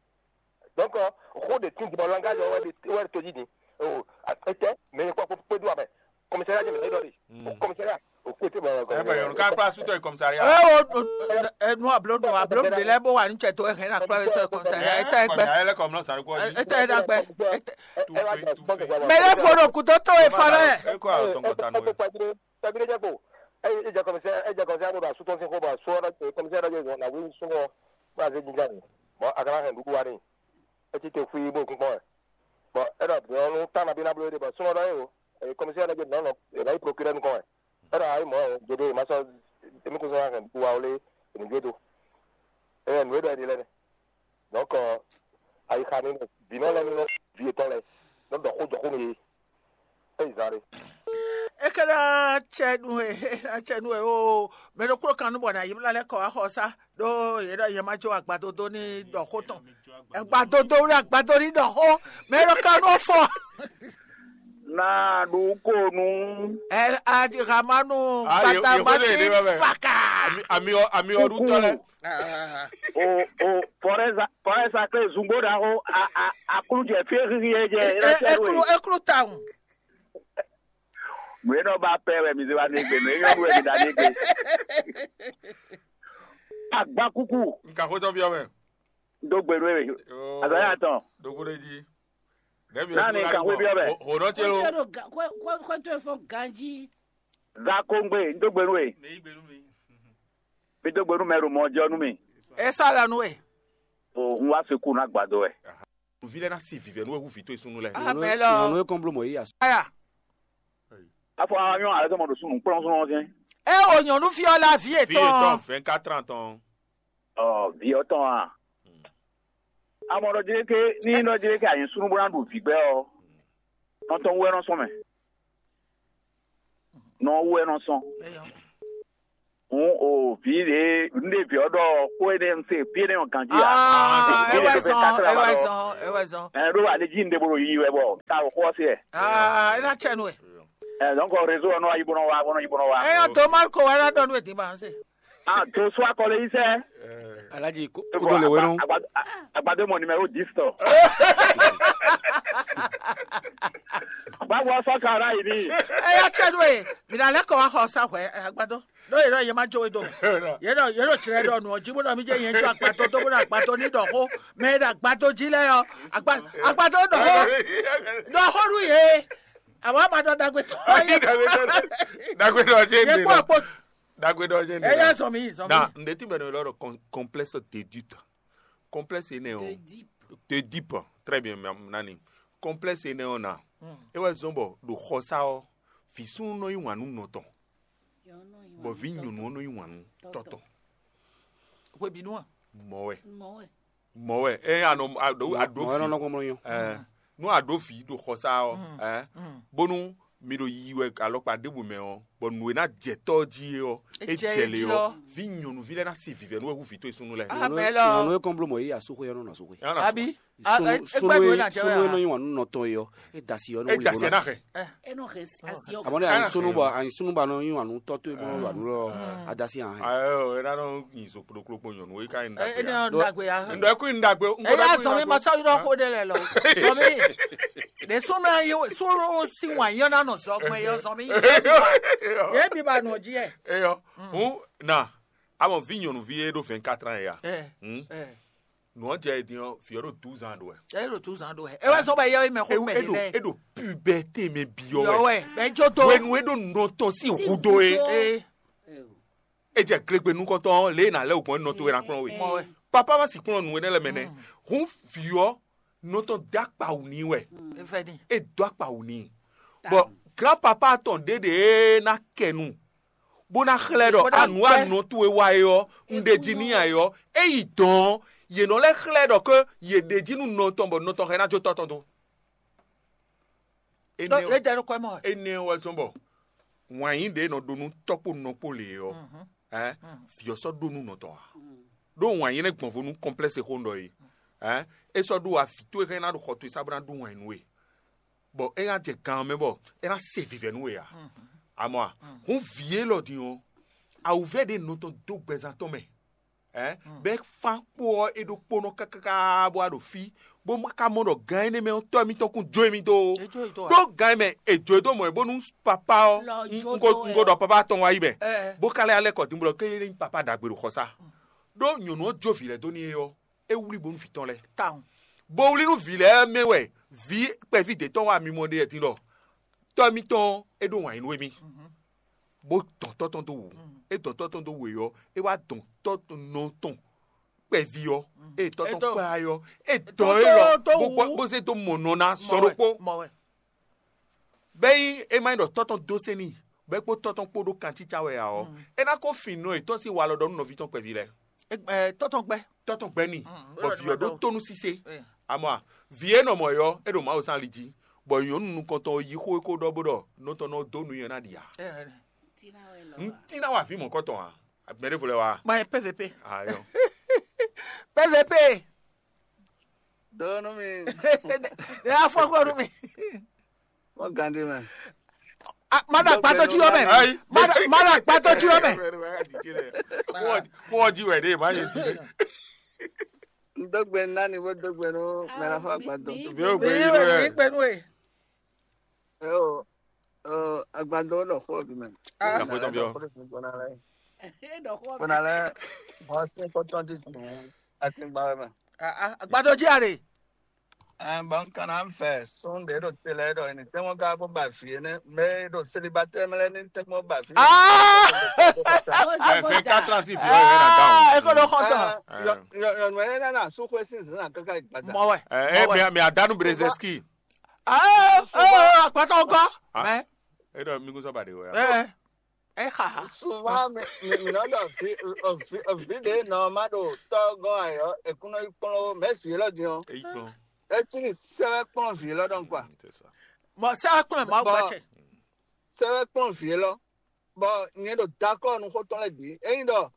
Donc, xó ɖe tún bɔ langage ɔ wɛ ɖe wɛ ɖe to jí din. O, etɛ, mɛ kpɔ kpó kpé dó abɛ. Komisariya jɛ mɛ ɖɔ ɖe. Komisariya, o kpé te bɔ. Ɛ bɛ yɔnu ká kpla sutɔ yi komisariya. Ɛ o, ɛ nu ablo nu ablo nu de lɛ bó wà ní cɛ tó ɛ hɛn na kpla wɛ sɛ komisariya. Ɛ tɛ gbɛ. Ɛ lɛ kɔmlɔ sari kɔ yi. Ɛ tɛ da gbɛ. Ɛ tɛ. Mɛ lɛ fo ɖo kútó tó e fa lɛ. Ɛ kɔ àwọn tɔngɔ ta nù. Tɛgbile jɛ kpo. Ɛ ɛ jɛ kɔmisɛ ɛ jɛ kɔmisɛ abo do asutɔ sin xo bɔ asɔ ɛ kɔmisɛ ɛ jɛ na wuli sumɔ. Bó a zé jinjá ni. Bɔn a kana hɛn ɖuɖu wa ni. Ɛ ti te fui bó kún kpɔn ɛ. Bɔn ɛ dɔ bɔ nu tán na bí na bló de bɔ sumɔ dɔ ye o. Ɛ kɔmisɛ ɛ jɛ nɔ nɔ ɛ na yi prokirɛ nukɔn ɛ. Ɛ dɔ ayi mɔ ɛ jɛ de ma sɔ emi kún sɔ hɛn ɖuɖu wa wle enu jɛ do. Ɛ nu e dɔ ɛ di lɛ nɛ. Donc, ayixa ni vǐ nɔ lɛ́ɛ ní nɔ vǐ yětɔn lɛ́ɛ nɔ ɖɔ xó jɔ xó nú yě. É yi zán ɖé. É ka ná cɛ nú we, é ná cɛ nú we ó. Mɛ ɖokpó kan nú bɔ nǎ yi blá lɛ́ kɔ wá xɔ sá, ɖó yě ɖɔ yě má jó agbadodo ní ɖɔ xó tɔn. Agbadodo wlé agbado ní ɖɔ xó, mɛ ɖo ka nú fɔ. Na ɖu ko nu. Ɛ aji hamanu. Ah, ye- gbata ye- mati ye- ye- faka. Ami ami ɔ- ami ɔɖutɔ lɛ. O o fɔrɛza fɔrɛza kle zungbo ɖaxo a a aklu jɛ fie xixi yɛ jɛ. Eklu eklu tawun. Nue nɔ ba pɛ wɛ mi se wa ne gbe nue nyɔnu wɛ mi da ne gbe. Agba kuku. Nka xotɔ biɔ mɛ. Do gbe nue. Azɔ ya tɔn. Dogo ɖe dzi. Nani nka xwe biɔ mɛ. Hodɔ tse lo. Xɔtɔ efɔ ganji. Za ko ŋgbe n do gbe nue. Mi do gbe nú mɛ ɖo mɔ jɔ nú mi. E sá la nú we. O n wá fi kú ná gbado wɛ. Vǐ lɛ́ɛ ná si vǐvɛ́ nú wɛ hú vǐ towe súnnu lɛ́ɛ. Amɛ lɔ. Nyɔnu e kɔn bló mɔ yí asú. Aya. Afɔ anyɔ ale tɔmɔ ɖo súnnu kplɔ́n súnnu ɔ́ sɛn. E o nyɔnu fi ɔ la vi Vǐ etɔn. Etɔn vingt-quatre ans tɔn. Ɔ vǐ ɔ́ tɔn a. Amɔ ɖɔ jlé ké ní ɖɔ jlé ké anyǐ súnnu bó ná ɖu vǐ gbɛ́ ɔ́, nɔ tɔn wú wɛ nɔ sɔn mɛ. Nɔ wú wɛ nɔ sɔn. Eyɔ. Hǔn o vǐ ɖě un ɖe vǐ ɔ́ ɖɔ xó énɛ́ un se fí énɛ́ ɔ́ ganjí ǎ. Ah, Vǐ ewɛ ɖě zɔn, ká sɔ́ ewɛ ɖɔ zɔn, ewɛ zɔn. Ɛ ɖó alé jí un ɖe bó ɖo yiyi wɛ bɔ ta o xó ɔ́ se ɛ. Ah, ena tsɛ nu ɛ. Ɛ donc réseau ɔ́ nɔ yi bó nɔ wá bó nɔ yi bó nɔ wá. Eyɔ to Marco wɛ na dɔ nu edi ma se. Ah, to sɔ akɔlɛ yi sɛ. Alhaji, ko- koɖo le wenu. Agbado mɔ numéro dix tɔ. Báwo sɔ ka ra yi ni. Eyɔ tsɛ nu e, mi na lɛ kɔ wa xɔ sa hwɛ agbado. Ɖó yě ɖɔ yě má jó we do. Yě ɖɔ yě ɖɔ tsrɛ ɖɔ nǔ ɔ́ jí bó ɖɔ mí jẹ́ yẹn jó agbado dó bó ɖɔ agbado ní ɖɔ xó. Mɛ e ɖo agbado jí lɛ́ɛ ɔ́, agba- agbado ɖɔ xó ɖɔ xó nú yě. Àwọn àmà ɖɔ dàgbé tọ́ yé. Dagbe dɔ jẹ Yé ne kó lɔ. àpò Dagbe dɔ jẹ ne ẹyẹ lɔ. Zɔmi Zɔmi. Na n de ti bɛ ne lɔ com- complexe de doute. Complexe ne o. De deep. Très bien, ma- nani. Complexe ne o na. E wɛ zɔn bɔ ɖo xɔsa ɔ, vi sunu nɔ yi wàn nú nɔ tɔn, bɔ vi nyɔnu ɔ nɔ yi wàn nú tɔtɔ. Hwebinu a. Mɔ wɛ. Mɔ wɛ. E anɔ aɖo aɖo Mɔwɛ nɔ fi. nɔ gbɔmɔ yɔn. Ɛ, nú aɖo fi ɖo xɔsa ɔ, ɛ, bónú mi ɖo yi wɛ alɔkpa ɖěbǔ mɛ ɔ, bɔ nǔ e ná jɛ tɔ jí é ɔ, é jɛ lé ɔ, vi nyɔnuvi lɛ́ɛ ná si vivɛ nú wɛ hú vǐ tó e súnnu lɛ́ɛ. Amɛ lɔ. Nɔnɔ e kɔn blo mɔ yi asoxo yɛ nɔ nɔ asoxo. Abi. Sunu Egbe sunu do e na sunu e nɔ jɛ. Yi wàn nú nɔtɔn yi ɔ, e da si yɔ nɔ É wuli da sɛ ná bɔ xɛ. Eno hes asio. Àmọ́ ní àyìn sunu bɔ àyìn sunu bɔ àná yín wà nú tɔtú ẹ bọ́n wà nú lọ adasi hàn. Ayo, é ná nɔ yin so kplokplo nyɔnu é ká yin Ɛ ɛ ní dagbe. ɔn dagbe ya. Ndo é kú yin dagbe. Ɛ yá sɔ mi ma sɔ yín lɔ xó ɖé lɛ lɔ. Sɔ mi. Ɖe sunu yín sunu si wàn yín ɔ́ ná nɔ zɔ gbɔn yɔ sɔ mi. Yé bi ba nɔ jí ɛ. Eyɔ, hun na, amɔ vi nyɔnuvi e ɖo vingt-quatre ans ya. Ɛ Hmm? ɛ. Nua jɛ din ɔ, fi ɔ ɖo douze ans ɖo ɛ. Ɛ ɖo tu zan ɖo ɛ. Ɛ wɛ sɔ bɛ yɛ mɛ xó mɛ Eɖo lɛ. Eɖo puberté mɛ bi ɔ Yɔ wɛ. Wɛ bɛ jo to. Wenu eɖo nɔ tɔn si hudo e. Ee. E jɛ glegbe nukɔntɔn lě e nà lɛ ògbɔn nɔ to wɛ na kplɔn we. Mɔ wɛ. Papa ma si kplɔn nu enɛ lɛ mɛ nɛ. Hun fi ɔ nɔ tɔn da kpa wù ni wɛ. Efɛ ni. E dɔ akpa wù ni. Bɔ grand papa tɔn ɖe ɖe e na kɛ nu. Bó ná xlɛ́ ɖɔ Bó ná anu gbɛ́. Anɔ towe wá é ɔ́, un ɖe jí n'i ǎ é ɔ́, é yi dɔn ɔ́, yě nɔ lɛ́ xlɛ́ ɖɔ ké yě ɖe jí nú nɔ tɔn bɔ nɔ tɔn xɛ ná jó tɔ́ tɔn dó. Ɖɔ yé jɛ ɖo kɔɛ mɔ. Énɛ́ wɛ zɔn bɔ wǎn yí ɖě nɔ ɖó nú tɔ́ kpó nɔ kpó lě ɔ́, ɛ vǐ ɔ́ sɔ́ ɖó nú nɔ tɔn ǎ. Ɖó wǎn yí nɛ́ gbɔn vo nú kɔnplɛ́si xó un ɖɔ é, ɛ é sɔ́ ɖó wá vǐ towe xá é ná ɖo xɔ towe sá bó ná ɖó wǎn nú we. Bɔ é ná jɛ gan ɔ́ mɛ bɔ é ná se vǐvɛ́ nú we ǎ. Amɔ a, hǔn vǐ élɔ́ din ɔ́, awǔvɛ́ ɖě nɔ tɔn dó gbɛzán tɔn mɛ, ɛ bɛ́ fán kpó ɔ́ é ɖokpónɔ káká bó wá ɖo fí, bó ma ka mɔ ɖɔ gan énɛ́ mɛ ɔ́ tɔ́ émítɔn kún jó émí dó ó. Ɖó gan e mɛ è jó e dó mɔ̌ é bónú papá ɔ́, un ko ɖɔ papá tɔn wá yi mɛ, bó ka lɛ́ alɛ kɔ din bó ɖɔ ké é nyí papá ɖagbe ɖo xɔsá. Ɖó nyɔ̌nu ɔ́ jó vǐ lɛ́ɛ dó n'i é ɔ́, é wlí bónú vǐ tɔn lɛ́ɛ. Bó wlí nú vǐ lɛ́ɛ mɛ wɛ vǐ kpɛví d'é tɔn wá mimɔ ɖe wɛ din ɖɔ tɔ́ émítɔn é ɖó wǎn yí nú émí, bó dɔn tɔ́ tɔn dó wǔ. É dɔn tɔ́ tɔn dó wǔ é ɔ́, é wá dɔn tɔ́ nɔ tɔn kpɛví ɔ́, é tɔ́ tɔn kplá é ɔ́, é dɔn é lɔ bó gbɔ bó zé dó mɔ nɔ ná sɔ ɖokpó. Bɛ́ nyí é má nyí ɖɔ tɔ́ tɔn dó sɛn n'i, bɛ́ kpó tɔ́ tɔn kpó ɖó kancícá wɛ ǎ ɔ́, é ná ko fin nɔ yětɔn sín walɔ ɖɔ nú nɔví tɔn kpɛví lɛ́ɛ. Tɔ́ tɔn gbɛ́. Tɔ́ tɔn gbɛ́ n'i, bɔ vǐ ɔ́ ɖó tónú sísé. Amɔ a, vǐ e nɔ mɔ ɔ́ é ɖo Mawu sín ali jí, bɔ nyɔ̌nu nukɔntɔn ɔ́ yí xó e ko ɖɔ bó ɖɔ nɔ tɔn nɔ dó nú nyɛ ná ɖi ǎ. N tí ná wa vǐ mɔ̌kɔtɔn ǎ. Mɛ ɖěvo lɛ́ wá. Ma yɛ P V P. Ayɔ. P V P. Dɔɔnu mi. Ne y'a fɔ ko nu mi. Wọ́n gan dé mẹ́. Má dà gbàtọ́ tí yọ mẹ́. Má dà gbàtọ́ tí yọ mẹ́. Kó o jí wẹ̀ dé, má yẹ jí. N dɔgbe nani bó dɔgbe nú mẹ́ra fún àgbàdo. Bí ó gbé Èyí yín wẹ̀ rẹ̀. ní pẹ̀lú ẹ̀. Ẹ o, ɔ, àgbàdo lọ fún òbí mẹ́. Ìyàpò tó bí ọ. Kò nà lẹ, wọ́n sí kó twenty twenty àti gbà wẹ́ mẹ́. Àgbàdo jí àrè. Ẹ bọ́n kan náà ń fẹ́ Sunday ɖo tẹ́lẹ̀ ɖo ẹni tẹ́wọ́n ká bó bá fi ẹni mẹ́ ɖo célibataire mẹ́lẹ́ ní tẹ́wọ́n bá fi. Ah! Ẹ fẹ́ quatre ans sí fi ọ̀rẹ́ rẹ̀ náà dáhùn. Ẹ kó ló kọ́ tán. Yọ̀nù ẹ̀rẹ́ náà sún kó sí ìsìn náà kankan ìgbàdà. Mọ̀ wẹ̀. Ẹ ẹ mi àdánù Brzezinski. Ẹ ẹ àpáta ọgọ́. Ah. Ẹ Ẹ dọ̀ mi kún sọ́ba de wẹ̀. ẹ. É xa ha. Souvent mi mi mi nɔ ɖɔ vi vi vi ɖe nɔ ma ɖo tɔgɔn ayɔ ekunɔ yi kplɔn o, mais vi lɔ din o. Eyi kplɔn. Eti ni sɛwɛ kplɔn vi lɔ dɔn quoi. C'est ça. Mɔ sɛ kplɔn ma Bon. Gbɛtsɛ. Sɛwɛ kplɔn vi lɔ. Bon, nyɛ ɖo d'accord nu xotɔn lɛ gbi. Eyin ɖɔ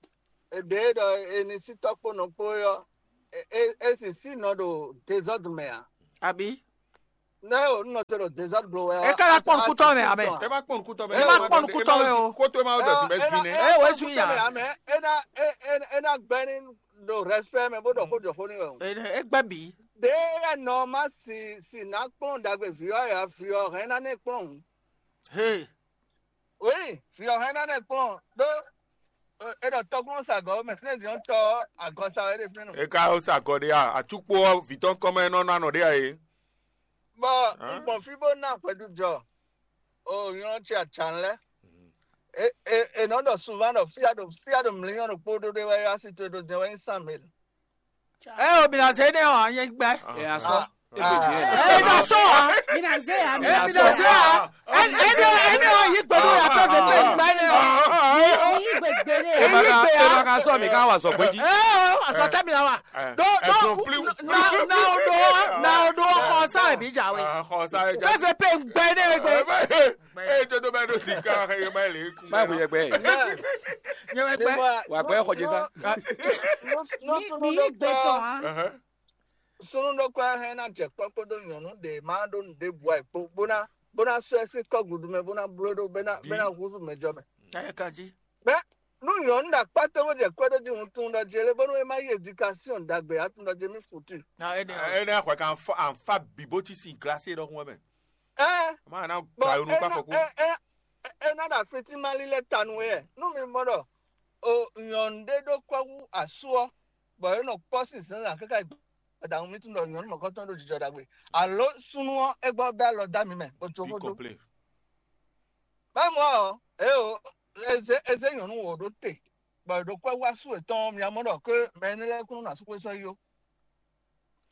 ede ɖɔ eni si tɔkpo nɔkpo yɔ e e si si nɔ ɖo désordre mɛ a. Abi. Ne o nɔ te ɖo désordre blo wɛ. E ka na kpɔn kutɔ mɛ, amɛ. Ẹ má pọ̀n kútọ́ Ẹ má pọ̀n kútọ́ mɛ o. Kótó ẹ má dọ̀ sí bẹ́ẹ̀ bí nẹ. Ẹ wẹ́ sun ya. Amɛ ena ena gbɛni ɖo respect mɛ bó ɖɔ xó jɔ xó ni wɛ o. E gbɛ bi. De ya nɔ ma si si na kplɔn dagbe vi ɔ ya vi ɔ hɛn na ne kplɔn. He. Oui, fi ɔ hɛn na ne kplɔn ɖó e ɖɔ tɔkplɔn sa gɔ mɛ sinɛ di ɔn tɔ agɔ sa wɛ ɖe fínɛ nɔ. E ka ó sa gɔ ɖé a? Atsúkpó ɔ́ vǐ tɔn kɔn mɛ nɔ ná nɔ ɖé a é. Bɔ Hã? N gbɔn fí bó ná hwɛɖu jɔ o nyɔ́ ce acan lɛ. E e e nɔ ɖɔ suvan ɖɔ fia ɖo fia ɖo mliyɔn ɖokpó ɖó ɖé wɛ asi to ɖo dɛn wɛ nyi san mil. Ɛ o mi na se ne o an yɛ gbɛ. Ɛ asɔ. Ɛ na sɔ a. Mina ze ya Ɛ mi na se a. Ɛ ɛ ne ɛ ne o yi gbɛdo ya fɛ fɛ fɛ gbɛ ne o. Yi gbegbe de Ɛ ya. ma ka ɛ ma ka sɔ mi ka wa sɔ gbɛji. Ɛ o asɔ tɛ mi na wa. Do do na na o do na o do xɔ sa ɛ bi ja we. Xɔ sa ɛ Fɛ fɛ fɛ gbɛ ne gbɛ. Ee, tó tó bá dó sí ká ẹ má lè kú. Báyìí kò yẹ gbẹ. Nyɛ wɛ gbɛ. Wà gbẹ xɔ jésà. Nú sunu Mi yi gbe tɔn ɖokpɔ ha. Ɛhɛn. Sunu ɖokpɔ hɛn ná jɛ kpɔ́ kpódó nyɔ̌nu ɖe má ɖó nǔɖé bu ayǐ kpó bó ná bó ná sɔ́ ɛ sín kɔ́gǔdú mɛ bó ná bló ɖó bó ná bó ná húzú mɛ jɔ mɛ. Ɛ ka jí. Nú nyɔ̌nu ɖo akpá tó bó jɛ kwɛ́ ɖó jí hun tún ɖɔ jí lé bónú é má yí éducation ɖagbe á tún ɖɔ jí mí futu. Na ɛ ne. Ẹ ní àkọ́kọ́ àǹfà bìbó tí sì gíláṣí lọ́kùn ẹ̀mẹ̀. Ɛ Má nà bɔn gbà yónú é ká ná fọkú. ɛ ɛ ɛ ná ɖo afi tí má lílɛ́ ta nú é. Nú mi mɔ ɖɔ o nyɔ̌nu ɖé ɖó kwɛ́ hú asú ɔ́, bɔ é nɔ kpɔ́ sín zǎnzǎn káká yi gbadanu mí tún ɖɔ nyɔ̌nu mɔ̌kɔtɔn ɖó jijɔ ɖagbe. Alo súnnu ɔ́ é gbɔ bɛ́ alɔ dó ami mɛ bó jó Bí xó dó. kɔ̀plé. Báwo ɔ́, eo eze eze nyɔ̌nu wǒ ɖó te, bɔ è ɖo kwɛ́ wá sú yětɔn ɔ́, mi mɔ ɖɔ ké mɛ énɛ́ lɛ́ɛ kún ná sú xwé sɔ́ yí ó.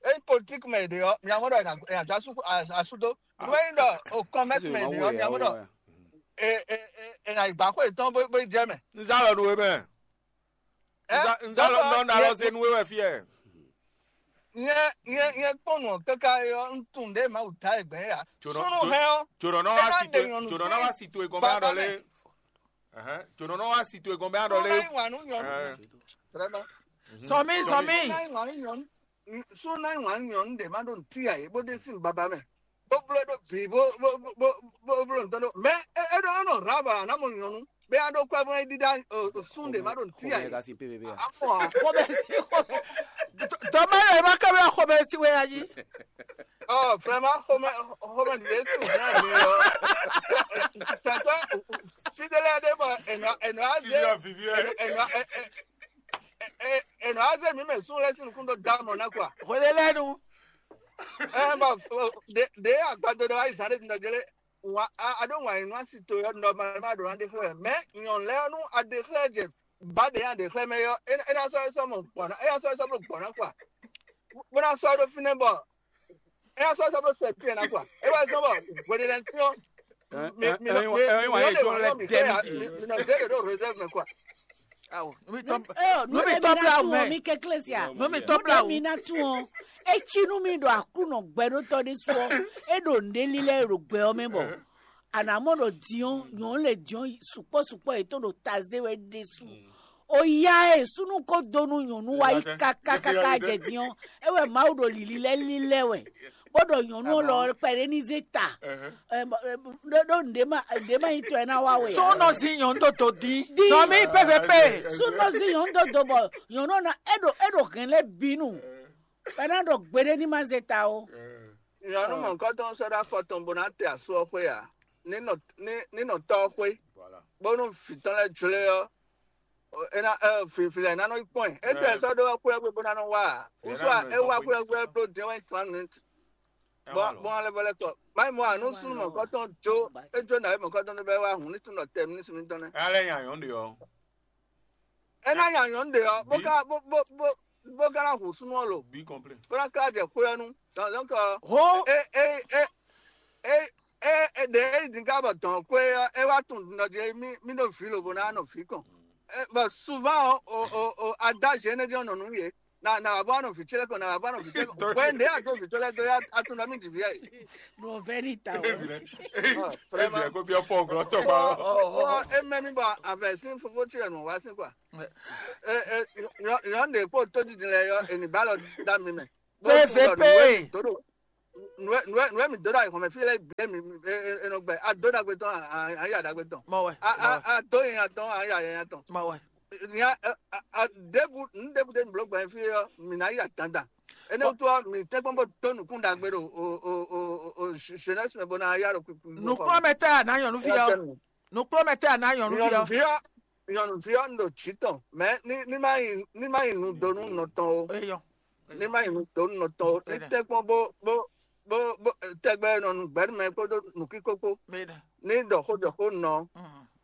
Ényí politíki mɛ è ɖe ɔ́, mi mɔ ɖɔ è nǎ jɔ asú dó. Nú ényí ɖɔ o kɔmɛ́si mɛ è ɖe ɔ́, mi mɔ ɖɔ è è è è nǎ yi gbǎ xwé yětɔn bó bó yi jɛ mɛ. Nzá lɔ nu we mɛ. Ɛ Nzá lɔ nɔ na lɔ se nu we wɛ fiyɛ. Nyɛ nyɛ nyɛ kpɔn nɔ kaka yɔ ntun ɖe ma wuta egbe ya. Tso nɔ- Sunu tso- hɛn ɔ. Tso nɔ nɔ Ẹ wá má si ɖe to nyɔnu tso nɔ sí nɔ wá si to egbɔn bɛ bàbá adɔ lé. Ɛhɛn, tso nɔ nɔ wá si to egbɔn bɛ adɔ Sunu lé. hɛn wà nú nyɔnu. Ɛhɛn. Vraiment. Sɔmi sɔmi. Sunu hɛn wà nú nyɔnu. Sunu hɛn wà nú nyɔnu ɖe ma ɖo ntí ya yě bó ɖe sín baba mɛ. Bó bló ɖó bǐ bó bó bó bó bó bló ntɔn ɖó. Mɛ é é ɖɔ é nɔ raba anamɔ nyɔnu. Bɛ a ɖo kɔ bɔ é ɖiɖa o sun ɖe ma ɖo ntí ya yě. Afɔ a. Xɔmɛ si xɔmɛ. Tɔmɛ yɛ ma kɛ bɛ xɔmɛ si wɛ ayi. Oh, vraiment, xɔmɛ xɔmɛ de si hɛn mi lɔ. C'est toi, fidèle de bɔ enɔ enɔ aze Sisi vivi ɛ. enɔ enɔ aze mi mɛ sun lɛ sin kun do da mɔ na quoi. Xɔlɛ lɛ nu. Eh, bon, de de agbado de wa izan de ndɔ jele. Wa a do wa inú asi to yɔ ndɔ ma ma do na de xlɛ. Mais nyɔn lɛ nu a de xlɛ je ba de ya de xlɛ mɛ yɔ. E na sɔ sɔ mo gbɔna. E na sɔ sɔ mo gbɔna quoi. Bó ná sɔ ɖó fínɛ́ bɔ é ná sɔ́ sɔ́ bó sɛ píɛ ná quoi. É wá sɔ́ bɔ hweɖé lɛ́ɛ tí ɔ́. Mi mi mi mi Ẹyin wa yẹ jọ lẹ dẹ mi di. Mi nɔ zé ɖo réserve mɛ quoi. Awo. Nú mi tɔ Ɛ nú mi tɔ bla wù mɛ. Mi kekle sia. Nú mi tɔ bla Mi wù. na tún ɔ. Etsi nú mi ɖo aklúnɔ gbɛɖótɔ ɖé sú ɔ. É ɖo nǔɖé lílɛ́ ɖo gbɛ ɔ́ mɛ bɔ. Anamɔ ɖo diɔn nyɔnu le diɔn sukpɔ sukpɔ yě tó ɖo taze wɛ ɖésú. Oya e súnú ko dó nú nyɔnu wa yi kakakaka jɛ diɔn. É wɛ Mawu ɖo lili lɛ lílɛ wɛ. Bó ɖɔ nyɔnu lɔ kpɛɖé ní zé ta. Ɛ, bɔ, ɛ, ɖó ɖó nɖé ma nɖé ma yi tɔ ɛ ná wa wɛ. Sɔnɔ si nyɔnu tó tó dín. Dín. Sɔmi pɛfɛ pɛ. Súnɔ sí nyɔnu dó dó bɔ nyɔnu ná é ɖo é ɖo hɛn lɛ bínú. Bɛ ná ɖɔ gbeɖé ní ma zé ta o. Nyɔnu mɔ̌kɔtɔn sɔ́ ɖó afɔ tɔn bó ná te asú ɔ́ xwé ǎ. Ní nɔ ní ní nɔ tɔ́ ɔ́ xwé. Bónú vǐ tɔn lɛ́ɛ jlé ɔ́, é ná ɛ fifilɛ ná nɔ yi kpɔ́n ɛ. É tɛ sɔ́ ɖó xwé ɔ́ xwé bó ná nɔ wá ǎ. Ou soit é wá xwé ɔ́ xwé bló din wɛn trente minutes. Bɔn bɔn alɛ bɔlɛ kɔ. Mayi mɔ àánú súnú mɔ̌kɔtɔn jó é jó nǎ é mɔ̌kɔtɔn tó bɛ wá hùn ní tún nɔ tɛ mí ní sunmí tɔn nɛ́. Alẹ́ yàn yàn de ɔ. É ná nya nyɔ̌nu ɖe ɔ́, bó ká bó bó bó bó ká ná hu súnú ɔ́ lo, Bí kɔ̀mplé. bó ná ká jɛ xwé ɔ́ nu. Donc euh, Ho. é é é é é é ɖě e yi din ká bɔ dɔn xwé ɔ́, é wá tunwun ɖɔ jí mí mí ɖo vǐ lobo ná nɔ vǐ kɔn. Bɔ souvent ɔ́, o o o adáze énɛ́ jɛ́n nɔ nú yě. Na na wá bɔ anɔ vǐ ce lɛ́ɛ kɔn, na wá bɔ anɔ vǐ ce lɛ́ɛ kɔn. Hwɛ ɖě a dó vǐ ce lɛ́ɛ dó, a tunwun ɖɔ mí ɖi vǐ ɛ. Ɖo vɛ́ ní ta o. Ébìlɛ kó biɔ fɔ glɔ tɔ kpa. Ɔ ɔ ɔ ɔ eme mi bɔ avɛ sín fofó ce nɔ wá sín kɔa. Ɛ ɛ nyɔn ɖe kpó tó didi lɛ yɔ, eni ba lɔ da mi mɛ. Pé vé pé. Nue nue nue mi dó ɖo ayixɔmɛ fí lɛ gbé mi enɔ gbɛ, a dó ɖagbe tɔn, a ya ɖagbe tɔn. Mɔ wɛ. A a a dó yɛn tɔn, a ya yɛn tɔn. Mɔ wɛ. Nya a a ɖebu nu ɖebu ɖe mi bló gbɛ fí ɔ, mi na ya dandan. Ene wútu ɔ, mi tɛ́nkpɔ́n bó dó nukún ɖagbe ɖo o o o o jeunesse mɛ bó ná ya ɖo kpikpi. Nukplɔ́nmɛ tɛ a nǎ nyɔ̌nu fí ɔ. Nukplɔ́nmɛ tɛ a nǎ nyɔ̌nu fí ɔ. Nyɔ̌nu fí ɔ, nyɔ̌nu fí ɔ, un ɖo jǐ tɔn, mɛ ní ní má yi ní má yi nu dó nú nɔ tɔn o. Eyɔ. Ní má yi nu dó nú nɔ tɔn o. Ní tɛ́nkpɔ́n bó bó bó bó tɛgbɛ nɔ nu gbɛ̌ nú mɛ kpódó nǔkíkó kpó. Ní ɖɔ xó ɖɔ xó nɔ.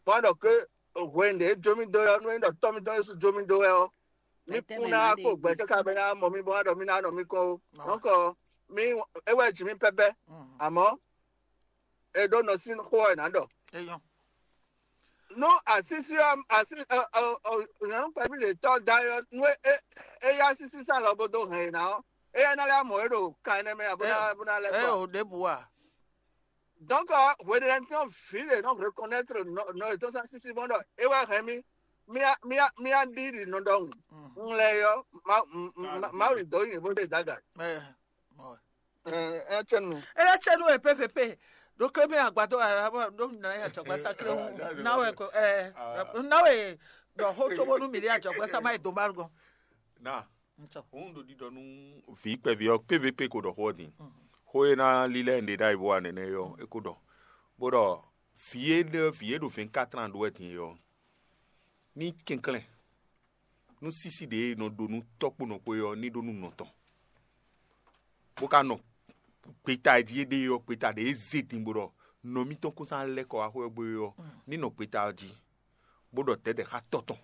Bó wá ɖɔ ké hwenu ɖě jó mì dó wɛ ɔ́, nú é ɖɔ tɔ́ mì tɔn Jezu jó mì dó wɛ ɔ́, mì kún ná kó gbɛ káká bɔ é ná mɔ mì bɔ é ná ɖɔ mì ná nɔ mì kɔn ó. Donc mì é wɛ jǐ mì pɛpɛ, àmọ́ è ɖó nɔ sín xó ɔ́ è nǎ ɖɔ. Nú asísí ɔ́ así nyɔ̌nu kpɛví lě tɔ́ da ɔ́, nú é é yá sísí sán lɔ bó dó hɛn è nǎ ɔ́, éyɛ́ ná lɛ́ mɔ é ɖo kan énɛ́ mɛ ǎ bó ná bó ná lɛ́ kɔ. Ɛ o ɖěbǔ a. Donc hweɖéɖétɔn vǐ ɖě nɔ reconnaître nɔ yětɔn sín asísí mɔ ɖɔ é wɛ hɛn mì mía mía mía ɖi ɖi nɔ ɖɔhun. Un lɛ yɔ Mawu ɖi dɔ̌ nyi bó ɖe daga. Ɛ ɛ cɛnu. Ele cɛnu e pépépé ɖo klé mɛ agbadɔ ara ɖo na ya jɔgba sakle hu. Na wɛ ko ɛ na wɛ ɖɔ xó tso bónú mi ɖe ajɔgba sama yi do ma gɔn. Na Ŋutɔ. Òun ɖo ɖiɖɔ nú vǐ kpɛví ɔ́ kpévé kpé ko ɖɔ xó ɔ́ din. Xó e ná lílɛ́ nɖe ɖ'ayǐ bó wa nɛnɛ é ɔ́, é ko ɖɔ, bó ɖɔ vǐ e ɖe vǐ e ɖo vɛ̌nkatran ɖó wɛ din é ɔ́, ní kɛnklɛ́n nú sísí ɖě e nɔ ɖó nú tɔ́ kpó nɔ kpó é ɔ́ ní ɖó nú nɔ tɔn, bó ka nɔ gbeta e jí é ɖe é ɔ́, gbeta ɖě e zé din bó ɖɔ nɔ mítɔn kún sán lɛ́ kɔ wá xwé ɔ́ gbé é ɔ́, ní nɔ gbeta ɔ́ jí, bó ɖɔ dɛ̌dɛ̌ xá tɔ́ tɔn.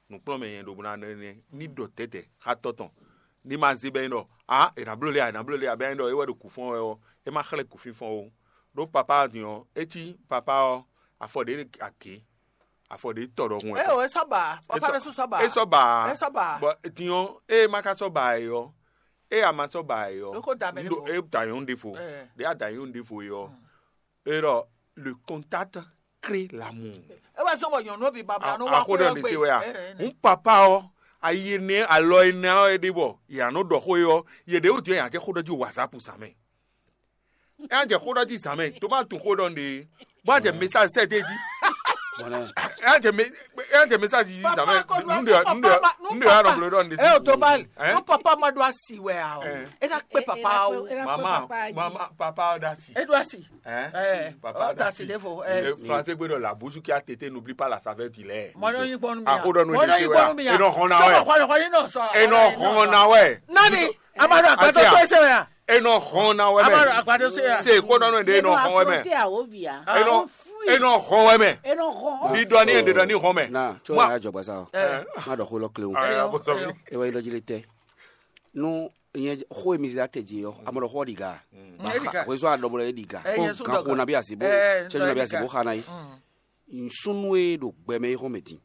Nǔkplɔ́nmɛ nyɛ ɖo bó ná nɔ énɛ́ ní ɖɔ dɛ̌dɛ̌ xá tɔ́ tɔn, ní ma zé bɛ́ nyí ɖɔ ǎ è nǎ bló lé ǎ, è nǎ bló lé ǎ, bɛ́ nyí ɖɔ é wɛ ɖo kǔ fɔ́n wɛ ɔ́, é má xlɛ́ kǔfínfɔ́n ó. Ɖó papá ɔ́ din ɔ́, é cí papá ɔ́, afɔ ɖě agě, afɔ ɖě tɔ ɖɔhun wɛ. Ée o, é sɔ́ ba, papa ɖésú sɔ́ ba. É sɔ́ ba. É sɔ́ ba. Bɔ din ɔ́, ée é má ka sɔ́ ba ǎ é ɔ́, ée a ma sɔ́ ba ǎ é ɔ́, Ɖó kó da mɛ ɖěvo. É da nyɔ̌nu ɖěvo. Ɛ. Ɖě a da nyɔ̌nu ɖěvo é ɔ́, é ɖɔ le contact crée l'amour. É wá zɔ́n bɔ nyɔ̌nu bǐ babla nú wá xwé ɔ́ gbe. Hǔn papa ɔ́, ayi énɛ́ alɔ énɛ́ ɔ́ é ɖe bɔ yě nɔ ɖɔ xó é ɔ́, yě ɖě wú din ɔ́ yě ná jɛ xó ɖɔ jí WhatsApp zǎn mɛ. É ná jɛ xó ɖɔ jí zǎn mɛ, tó má tunwun xó ɖɔ nɖe, bó ná jɛ message sɛ dé jí. É ná jɛ message jí zǎn mɛ, nǔɖe nǔɖe nǔɖe wá nɔ bló ɖɔ nɖe. É o tó má nú papa ma ɖó asi wɛ a o. É ná kpé papa o. Mama mama papa ɔ́ ɖo asi. É ɖó asi. Hein? Eh, Papa oh, that's Dasi. It, for, eh. Le français gbé dans la bouche qui a tété, n'oublie pas la saveur du lait. Mɔnɔ yi gbɔnu mi. Akoɖɔ nu Mɔnɔ yi gbɔnu mi. Eno hɔn na wɛ. Sɔmɔ kɔni kɔni nɔ sɔ. Eno hɔn na wɛ. Nani? Amadu agbadɔ to ese wɛ. Eno hɔn na wɛ mɛ. Amadu agbadɔ se ya. Se ko nɔnɔ de eno hɔn wɛ mɛ. Eno eno hɔn wɛ mɛ. Eno hɔn. Di dɔ ni ende dɔ ni hɔn mɛ. Na tso ya jɔ gbasa o. Ma dɔ ko lɔ kile o. Aya bɔ sɔmi. Ewa yi lɔ jile tɛ. Nú nyɛ xó e mi zé atɛ jí ɔ́, amɔ ɖɔ xó ɔ́ ɖi ga. Hwezɔ́ aɖɔmlɔ e ɖi ga. Gan xo nabi asi bó, cɛ́jú nabi asi bó xa ná yi. Nsúnú e ɖo gbɛ mɛ é xɔ́n mɛ din.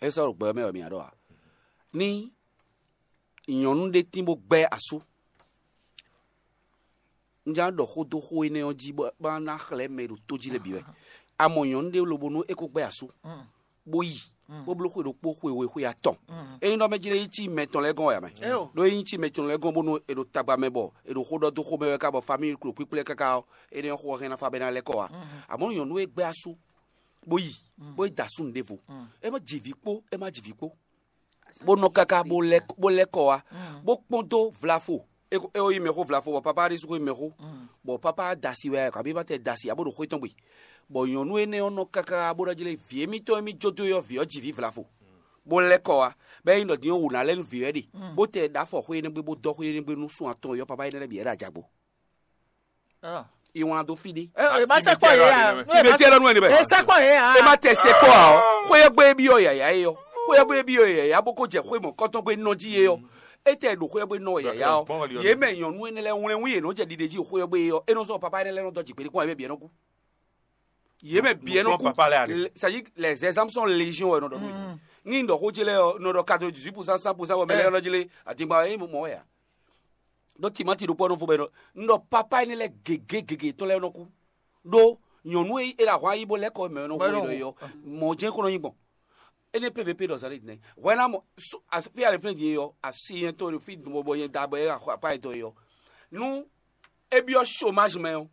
É sɔ́ ɖo gbɛ mɛ wɛ mi ǎ ɖɔ a? Ní nyɔ̌nu ɖé tín bó gbɛ́ asú. Un já ɖɔ xó dó xó énɛ́ ɔ́ jí bó ná xlɛ́ mɛ e ɖo tó jí lɛ́ɛ bǐ wɛ. A mɔ nyɔ̌nu ɖé lobo nú é ko gbɛ́ asú, bó yi, bó bló xwe ɖokpó xwe we xwe atɔn. Ényí ɖɔ mɛ jlé yi cí mɛ tɔn lɛ́ɛ gɔ́n wɛ ǎ mɛ. Ɖó ényí cí mɛ tɔn lɛ́ɛ gɔ́n bónú è ɖo tagba mɛ bɔ è ɖo xó ɖɔ dó xomɛ wɛ ká bɔ famíli klo kpíkplɛ́ káká ɔ́, énɛ́ ɔ́ xó ɔ́ hɛn ná fá bɔ é ná lɛ́ kɔ wá. Àmɔ̌ nyɔ̌nu e gbɛ́ asú, bó yi, bó yi da asú nǔɖévo, é má ji vǐ kpó, é má ji vǐ kpó. Bó nɔ káká bó lɛ́ bó lɛ́ kɔ wá, bó kpɔ́n dó vlafo. É ko é ko yí mɛxó vlafo bɔ papá ɖésú ko yí mɛxó, bɔ papá da asi wɛ kabi ma tɛ da asi abo ɖo xwé tɔn gbe. Bɔ nyɔ̌nu énɛ́ ɔ́ nɔ káká bó ná jlé vǐ émítɔn émí jó dó ɔ́, vǐ ɔ́ ji vǐ vlafo, bó lɛ́ kɔ wá, bɔ é nyí ɖɔ din ɔ́ wǔ ná lɛ́ nú vǐ ɔ́ ɖe, bó tɛ ɖǎ afɔ xwé énɛ́ gbe bó dɔ́ xwé énɛ́ gbe nú sún atɔn yɔ́ papá énɛ́ lɛ́ɛ bǐ wɛ ɖo ajagbo. Iwan dó fí ɖé. Ɛ ɛ ma sɛkpɔ yɛ ya. Fi ɖe tiɛ lɔ nu ɛni bɛ. Ɛ sɛkpɔ yɛ ya. E ma tɛ sɛkpɔ a ɔ. Xwé yɛ gbé bi ɔ yaya yɛ ɔ. Xwé yɛ gbé bi ɔ yaya bó kó jɛ xwé mɔ kɔtɔn gbé nɔ jí yɛ ɔ. Étɛ́ ɖo xwé ɔ́ gbe nɔ wɛ yǎyá ɔ́, yě mɛ nyɔ̌nu énɛ́ lɛ́ɛ wlɛ́n wú yě nɔ jɛ ɖiɖe jí xwé ɔ́ gbe é ɔ́, é nɔ zɔ́n papa énɛ́ lɛ́ɛ nɔ dɔ́ jǐ kpéɖé kpɔ́n wɛ bɛ bǐ ɛ́ nɔ kú. Yě mɛ bǐ ɛ́ nɔ kú. C'est-à-dire les exemples sont légion wɛ nɔ ɖɔ nú ní ɖɔ xó ce lɛ́ɛ ɔ́ nɔ ɖɔ quatre-vingt-dix-huit pour cent, cent pour cent wɛ mɛ lɛ́ɛ nɔ jlé adingba wɛ é mɔ wɛ ǎ. Ɖɔ timati ɖokpó ɔ́ nɔ fó bɛ nɔ un ɖɔ papa énɛ́ lɛ́ɛ gěgé gěgé tɔn lɛ́ɛ nɔ kú. Ɖó nyɔ̌nu e é ɖo ahwan yí bó lɛ́ kɔ mɛ nɔ xo ɖɔ é ɔ́, mɔ̌ jɛ́n kó nɔ nyí gbɔn. Énɛ́ pvp ɖɔ zǎn ɖé din hwɛ ná mɔ fí alɛ flɛ́n din ɔ́, asi yɛn tɔn ɖo fí bɔ yɛn da bɔ é xɔ apá yɛn tɔn é ɔ́, nú é byɔ́ chômage mɛ ɔ́,